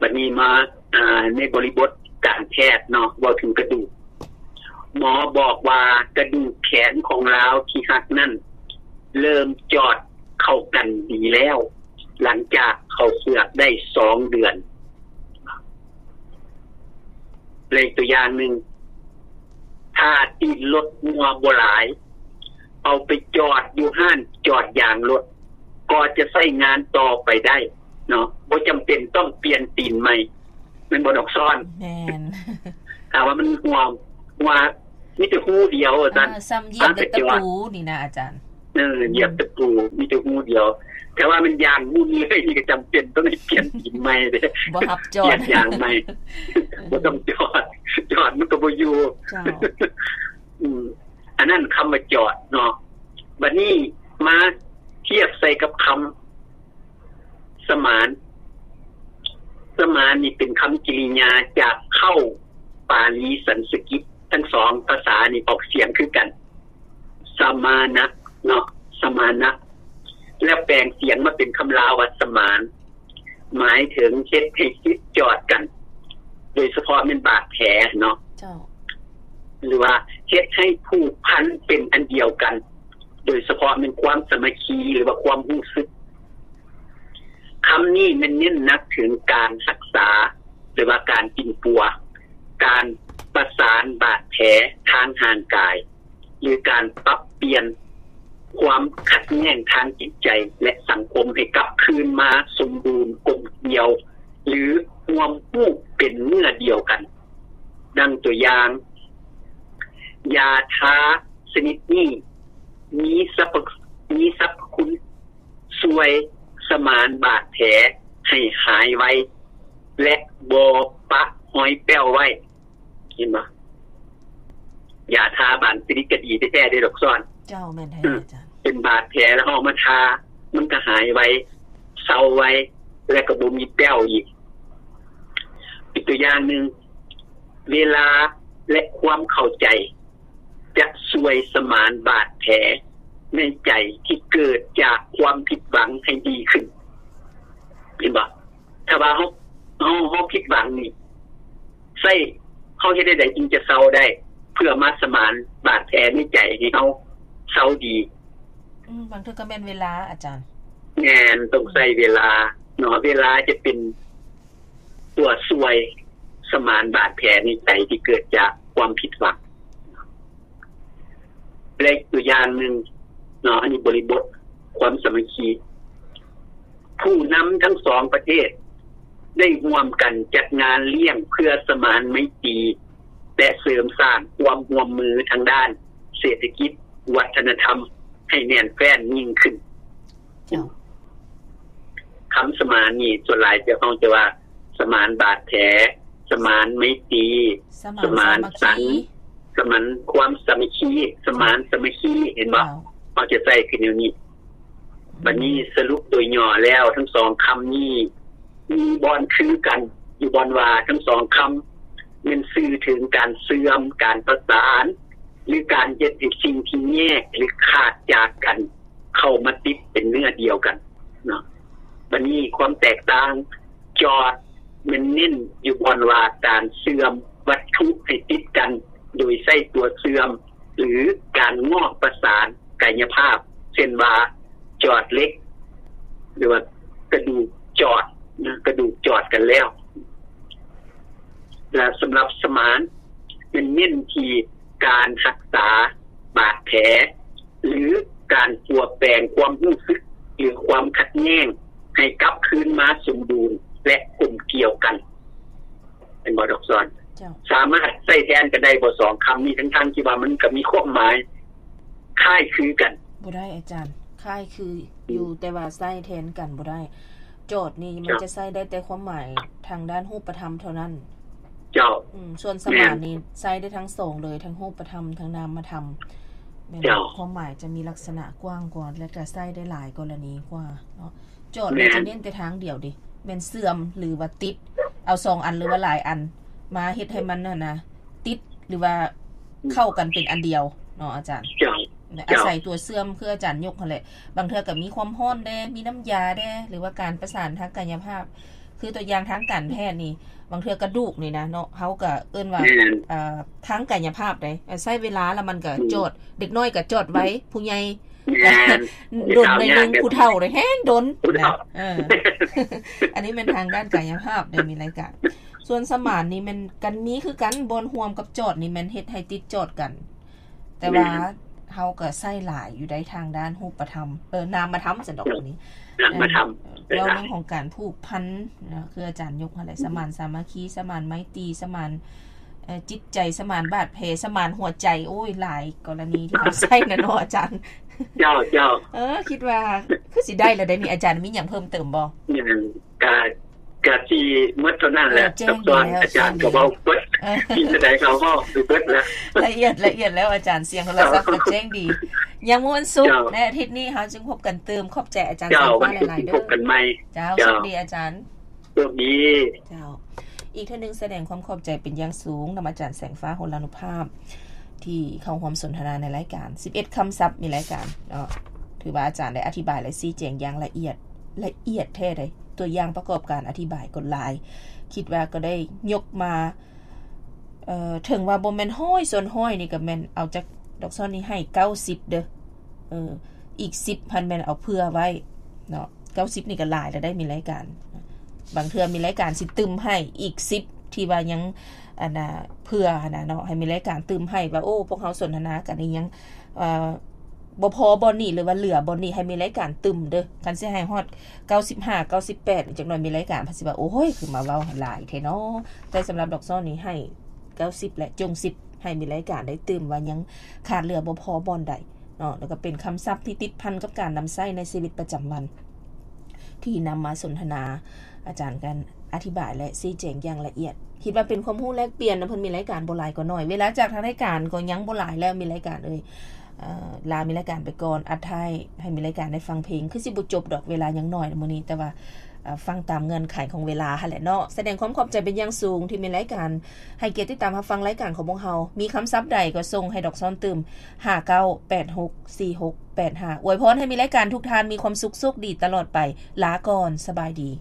ບັດນີ້ມາ ອາ ໃນບໍລິບົດການແພດເນາະ, ເວົ້າເຖິງກະດູກ. ໝໍບອກວ່າກະດູກແຂນຂອງລາວທີ່ຫັກນັ້ນ ເລີ່ມຈອດເຂົ້າກັນດີແລ້ວ ຫຼັງຈາກເຂົ້າເຝືອກໄດ້ສອງເດືອນ. ແລະ ອີກຕົວຢ່າງໜຶ່ງ, ຖ້າຕີນລົດຮົ່ວບໍ່ຫຼາຍ, ເອົາໄປຈອດຢູ່ຮ້ານຈອດຢາງລົດ ກໍຈະໃຊ້ງານຕໍ່ໄປໄດ້ເນາະ, ບໍ່ຈຳເປັນຕ້ອງປ່ຽນຕີນໃໝ່. ແມ່ນບໍ່ ນ້ອງຊອນ? ແມ່ນ. ຖ້າວ່າມັນຮົ່ວ, ຮົ່ວ ມີແຕ່ຮູດຽວວ່າຊັ້ນ ເອີ ສ່ຳຢຽບເຫຼັກຕະປູນີ້ນະອາຈານ. ເອີ ຢຽບຕະປູ ມີແຕ່ຮູດຽວ. ແຕ່ວ່າມັນຢ່າງໝູ່ນີ້ເລີຍ ນີ້ກໍຈຳເປັນຕ້ອງໄດ້ປ່ຽນຕີນໃໝ່ເດ້ ບໍ່ຮັບຈອດ ປ່ຽນຢາງໃໝ່ ບໍ່ຕ້ອງຈອດ ຈອດມັນກໍບໍ່ຢູ່. ເຈົ້າ ອືມ ອັນນັ້ນຄຳວ່າຈອດເນາະ. ບັດນີ້ມາທຽບໃສ່ກັບຄຳສະໝານ. ສະໝານນີ້ເປັນຄຳກິລິຍາຈາກເຄົ້າປາລີສັນສະກິດ ທັງສອງພາສານີ້ອອກສຽງຄືກັນ ສະມານະເນາະ ສະມານະ ແລ້ວແປງສຽງມາເປັນຄຳລາວວ່າສະໝານ ໝາຍເຖິງເຮັດໃຫ້ຕິດຈອດກັນ ໂດຍສະເພາະແມ່ນບາດແຜເນາະ ເຈົ້າ ຫຼືວ່າເຮັດໃຫ້ຜູກພັນເປັນອັນດຽວກັນ ໂດຍສະເພາະແມ່ນຄວາມສາມັກຄີ ຫຼືວ່າຄວາມຮູ້ສຶກ. ຄຳນີ້ແມ່ນເນັ້ນໜັກເຖິງການຮັກສາ ຫຼືວ່າການປິ່ນປົວ, ການປະສານບາດແຜທາງຮ່າງກາຍ ຫຼືການປັບປ່ຽນຄວາມຂັດແຍ່ງທາງຈິດໃຈ ແລະ ສັງຄົມໃຫ້ກັບຄືນມາສົມບູນກົມກຽວ ຫຼື ຮ່ວມຮູບເປັນເນື້ອດຽວກັນ. ດັ່ງຕົວຢ່າງ, ຢາທາຊະນິດນີ້ມີສັບພະ, ມີສັບພະຄຸນຊ່ວຍສະໝານບາດແຜໃຫ້ຫາຍໄວ ແລະ ບໍ່ປະຮອຍແປ້ວໄວ້. ເຫັນບໍ່? ຢາທາບາງຊະນິດກໍດີແທ້ໆເດ້ດອກຊອນ. ເຈົ້າ, ແມ່ນແທ້ ອືມ ອາຈານ. ເປັນບາດແຜແລ້ວເຮົາເອົາມາທາ ມັນກໍຫາຍໄວ, ເຊົາໄວ ແລະ ກໍບໍ່ມີແປ້ວອີກ. ອີກຕົວຢ່າງໜຶ່ງ, ເວລາ ແລະ ຄວາມເຂົ້າໃຈ ຈະຊ່ວຍສະໝານບາດແຜໃນໃຈທີ່ເກີດຈາກຄວາມຜິດຫວັງໃຫ້ດີຂຶ້ນ. ເຫັນບໍ່? ຖ້າວ່າເຮົາ, ເຮົາ, ເຮົາຜິດຫວັງນີ້ ໃຊ້, ເຮົາເຮັດແນວໃດຈຶ່ງຈະເຊົາໄດ້ ເພື່ອມາສະໝານບາດແຜໃນໃຈໃຫ້ເຮົາເຊົາດີ? ອືມ, ບາງເທື່ອກໍແມ່ນເວລາ, ອາຈານ. ແມ່ນ, ຕ້ອງໃຊ້ເວລາເນາະ, ເວລາຈະເປັນຕົວຊ່ວຍສະໝານບາດແຜໃນໃຈທີ່ເກີດຈາກຄວາມຜິດຫວັງ. ແລະ ອີກຕົວຢ່າງໜຶ່ງເນາະ, ອັນນີ້ບໍລິບົດຄວາມສາມັກຄີ. ຜູ້ນຳທັງສອງປະເທດໄດ້ຮ່ວມກັນຈັດງານລ້ຽງເພື່ອສະໝານໄມຕີ ແລະ ເສີມສ້າງຄວາມຮ່ວມມືທາງດ້ານເສດຖະກິດ, ວັດທະນະທຳໃຫ້ແໜ້ນແຟ້ນຍິ່ງຂຶ້ນ. ເຈົ້າ. ຄຳສະໝານນີ້ ສ່ວນຫຼາຍເຮົາຈະວ່າສະໝານບາດແຜ, ສະໝານໄມຕີ, ສະໝານ ສະໝານສັນ, ສະໝານຄວາມສາມັກຄີ, ສະໝານສາມັກຄີ, ເຫັນບໍ່? ເຈົ້າ. ເຮົາຈະໃຊ້ຄືແນວນີ້. ບັດນີ້ສະຫຼຸບໂດຍຫຍໍ້ແລ້ວ ທັງສອງຄຳນີ້ມີບ່ອນຄືກັນ ຢູ່ບ່ອນວ່າທັງສອງຄຳແມ່ນສື່ເຖິງການເສື່ອມ, ການປະສານ ຫຼື ການເຮັດໃຫ້ສິ່ງທີ່ແຍກ ຫຼື ຂາດຈາກກັນ ເຂົ້າມາຕິດເປັນເນື້ອດຽວກັນເນາະ. ບັດນີ້ຄວາມແຕກຕ່າງ, ຈອດແມ່ນເນັ້ນຢູ່ບ່ອນວ່າການເຊື່ອມວັດຖຸໃຫ້ຕິດກັນໂດຍໃຊ້ຕົວເຊື່ອມ ຫຼື ການງອກປະສານກາຍະພາບ, ເຊັ່ນວ່າ ຈອດເຫຼັກ ຫຼືວ່າກະດູກຈອດນະ, ກະດູກຈອດກັນແລ້ວ. ແລະ ສຳລັບສະໝານ ແມ່ນເນັ້ນທີ່ການຮັກສາບາດແຜ ຫຼື ການປົວແປງຄວາມຮູ້ສຶກ ຫຼື ຄວາມຂັດແຍ່ງໃຫ້ກັບຄືນມາສົມບູນ ແລະ ກົມກ່ຽວກັນ. ເຫັນບໍ່ດອກຊອນ? ເຈົ້າ. ສາມາດໃຊ້ແທນກັນໄດ້ບໍ່ ສອງຄຳນີ້ ທັງໆທີ່ວ່າມັນກໍມີຄວາມໝາຍຄ້າຍຄືກັນ? ບໍ່ໄດ້ອາຈານ, ຄ້າຍຄືຢູ່ ອືມ ແຕ່ວ່າໃຊ້ແທນກັນບໍ່ໄດ້. ຈອດນີ້ມັນ ເຈົ້າ ຈະໃຊ້ໄດ້ແຕ່ຄວາມໝາຍທາງດ້ານຮູບປະທຳເທົ່ານັ້ນ. ເຈົ້າ. ອືມ, ສ່ວນສະໝານນີ້ ແມ່ນ ໃຊ້ໄດ້ທັງສອງເລີຍ, ທັງຮູບປະທຳ ທັງນາມມະທຳ. ແມ່ນ ເຈົ້າ. ຄວາມໝາຍຈະມີລັກສະນະກວ້າງກວ່າ ແລະ ກະໃຊ້ໄດ້ຫຼາຍກໍລະນີກວ່າເນາະ. ຈອດນີ້ ແມ່ນ ຈະເນັ້ນແຕ່ທາງດຽວເດ ແມ່ນເຊື່ອມ ຫຼືວ່າຕິດ. ເອົາສອງອັນ ຫຼືວ່າຫຼາຍອັນມາເຮັດໃຫ້ມັນຫັ້ນນະ ຕິດ ຫຼືວ່າ ອືມ ເຂົ້າກັນເປັນອັນດຽວເນາະອາຈານ. ເຈົ້າ. ອາໄສຕົວເຊື່ອມ ຄືອາຈານຍົກຫັ້ນແຫຼະ, ບາງເທື່ອກໍມີຄວາມຮ້ອນແດ່ ມີນ້ຳຢາແດ່ ຫຼືວ່າການປະສານທາງກາຍະພາບ. ຄືຕົວຢ່າງທາງການແພດນີ້ ບາງເທື່ອກະດູກນີ້ນະເນາະ ເຮົາກໍເອີ້ນວ່າ ແມ່ນ ເອີ ທາງກາຍະພາບເດ້ ໃຊ້ເວລາ ແລ້ວມັນກໍ ອືມ ຈອດ, ເດັກນ້ອຍກໍຈອດໄວ, ຜູ້ໃຫຍ່ ແມ່ນ ດົນໜ້ອຍໜຶ່ງ, ຜູ້ເຖົ້າເດ້ແຮງດົນ ຜູ້ເຖົ້າ ນະ. ເອີ ອັນນີ້ແມ່ນທາງດ້ານກາຍະພາບເດ້ ມີລາຍການ. ສ່ວນສະໝານນີ້ແມ່ນກັນມີຄືກັນ, ບ່ອນຮ່ວມກັບຈອດນີ້ແມ່ນເຮັດໃຫ້ຕິດຈອດກັນ. ແຕ່ວ່າ ແມ່ນ ເຮົາກໍໃຊ້ຫຼາຍຢູ່ໃນທາງດ້ານຮູບປະທຳ ເອີ ນາມມະທຳຊັ້ນດອກ ເອີ ນີ້ ນາມມະທຳ ເອີ ເວົ້າເລື່ອງຂອງການຜູກພັນນະ ຄືອາຈານຍົກຫັ້ນແຫຼະ ອືມ ສະໝານສາມັກຄີ, ສະໝານໄມຕີ, ສະໝານ ເອີ ຈິດໃຈສະໝານບາດແຜ ສະໝານຫົວໃຈ ໂອ້ຍ ຫຼາຍກໍລະນີທີ່ເຮົາໃຊ້ນະເນາະອາຈານ. ເຈົ້າ ເຈົ້າ ເອີ ຄິດວ່າຄືຊິໄດ້ແລ້ວເດ້ນີ້ ອາຈານມີຫຍັງເພີ່ມເຕີມບໍ່? ຍັງ ກະ ກະຊິໝົດເທົ່ານັ້ນແຫຼະ ເອີ ແຈ້ງດີແລ້ວ ອາຈານກໍເວົ້າເບິດ ເອີ ມີເທົ່າໃດກໍເວົ້າໄປເບິດແລ້ວ ລະອຽດ ລະອຽດແລ້ວອາຈານ ສຽງໂທລະສັບກໍແຈ້ງດີ. ຍັງມື້ວັນສຸກ ເຈົ້າ ໃນອາທິດນີ້ເຮົາຈຶ່ງພົບກັນຕື່ມ. ຂອບໃຈອາຈານ ເຈົ້າ ແສງຟ້າຫຼາຍໆເດີ ເຈົ້າ ເຈົ້າ ໂຊກດີອາຈານ ໂຊກດີ. ເຈົ້າ ອີກເທື່ອໜຶ່ງສະແດງຄວາມຂອບໃຈເປັນຢ່າງສູງນຳອາຈານແສງຟ້າ ໂຫລານຸພາບ ທີ່ເຂົ້າຮ່ວມສົນທະນາໃນລາຍການສິບເອັດຄຳສັບ ມີລາຍການເນາະ. ຖືວ່າອາຈານໄດ້ອະທິບາຍ ແລະ ຊີ້ແຈງຢ່າງລະອຽດ ລະອຽດແທ້ໃດ໋. ຕົວຢ່າງປະກອບການອະທິບາຍກໍຫຼາຍ ຄິດວ່າກໍໄດ້ຍົກມາ ເອີ ເຖິງວ່າບໍ່ແມ່ນຮ້ອຍສ່ວນຮ້ອຍນີ້ ກໍແມ່ນເອົາຈາກດອກຊອນນີ້ໃຫ້ເກົ້າສິບເດີ ເອີ ອີກສິບຫັ້ນແມ່ນເອົາເຜື່ອໄວ້ເນາະ. ເກົ້າສິບນີ້ກໍຫຼາຍແລ້ວໄດ໋ ມີລາຍການ ບາງເທື່ອມີລາຍການຊິຕື່ມໃຫ້ອີກສິບ ທີ່ວ່າຍັງ ອັນນ່າ ເຜື່ອຫັ້ນນະເນາະ ໃຫ້ມີລາຍການຕື່ມໃຫ້ວ່າ ໂອ້ ພວກເຮົາສົນທະນາກັນອີ່ຫຍັງ ເອີ ບໍ່ພໍບ່ອນນີ້ ຫຼືວ່າເຫຼືອບ່ອນນີ້ ໃຫ້ມີລາຍການຕື່ມເດີ. ຄັນຊິໃຫ້ຮອດເກົ້າສິບຫ້າ ເກົ້າສິບແປດ ຈັກໜ່ອຍມີລາຍການເພິ່ນຊິວ່າ ໂອ້ຍ ຄືມາເວົ້າຫຼາຍແທ້ເນາະ. ແຕ່ສຳລັບດອກຊອນນີ້ໃຫ້ເກົ້າສິບ ແລະ ຈົງສິບ ໃຫ້ມີລາຍການໄດ້ຕື່ມວ່າຍັງຂາດເຫຼືອບໍ່ພໍບ່ອນໃດເນາະ. ແລ້ວກໍເປັນຄຳສັບທີ່ຕິດພັນກັບການນຳໃຊ້ໃນຊີວິດປະຈຳວັນ ທີ່ນຳມາສົນທະນາ ອາຈານກໍອະທິບາຍ ແລະ ຊີ້ແຈງຢ່າງລະອຽດ. ຄິດວ່າເປັນຄວາມຮູ້ແລກປ່ຽນນະ ເພິ່ນມີລາຍການບໍ່ຫຼາຍກໍໜ້ອຍ ເວລາຈາກທາງລາຍການກໍຍັງບໍ່ຫຼາຍແລ້ວ ມີລາຍການເອີຍ ເອີ ລາມີລາຍການໄປກ່ອນ ອັດທ້າຍໃຫ້ມີລາຍການໄດ້ຟັງເພງ ຄືຊິບໍ່ຈົບດອກ ເວລາຍັງໜ້ອຍນະມື້ນີ້ ແຕ່ວ່າ ເອີ ຟັງຕາມເງື່ອນໄຂຂອງເວລາຫັ້ນແຫຼະເນາະ. ສະແດງຄວາມຂອບໃຈເປັນຢ່າງສູງທີ່ມີລາຍການໃຫ້ກຽດຕິດຕາມຮັບຟັງລາຍການຂອງພວກເຮົາ. ມີຄຳສັບໃດກໍສົ່ງໃຫ້ດອກຊອນຕື່ມ ຫ້າເກົ້າແປດຫົກສີ່ຫົກແປດຫ້າ. ອວຍພອນໃຫ້ມີລາຍການທຸກທ່ານມີຄວາມສຸກໂຊກດີຕະຫຼອດໄປ. ລາກ່ອນ ສະບາຍດີ.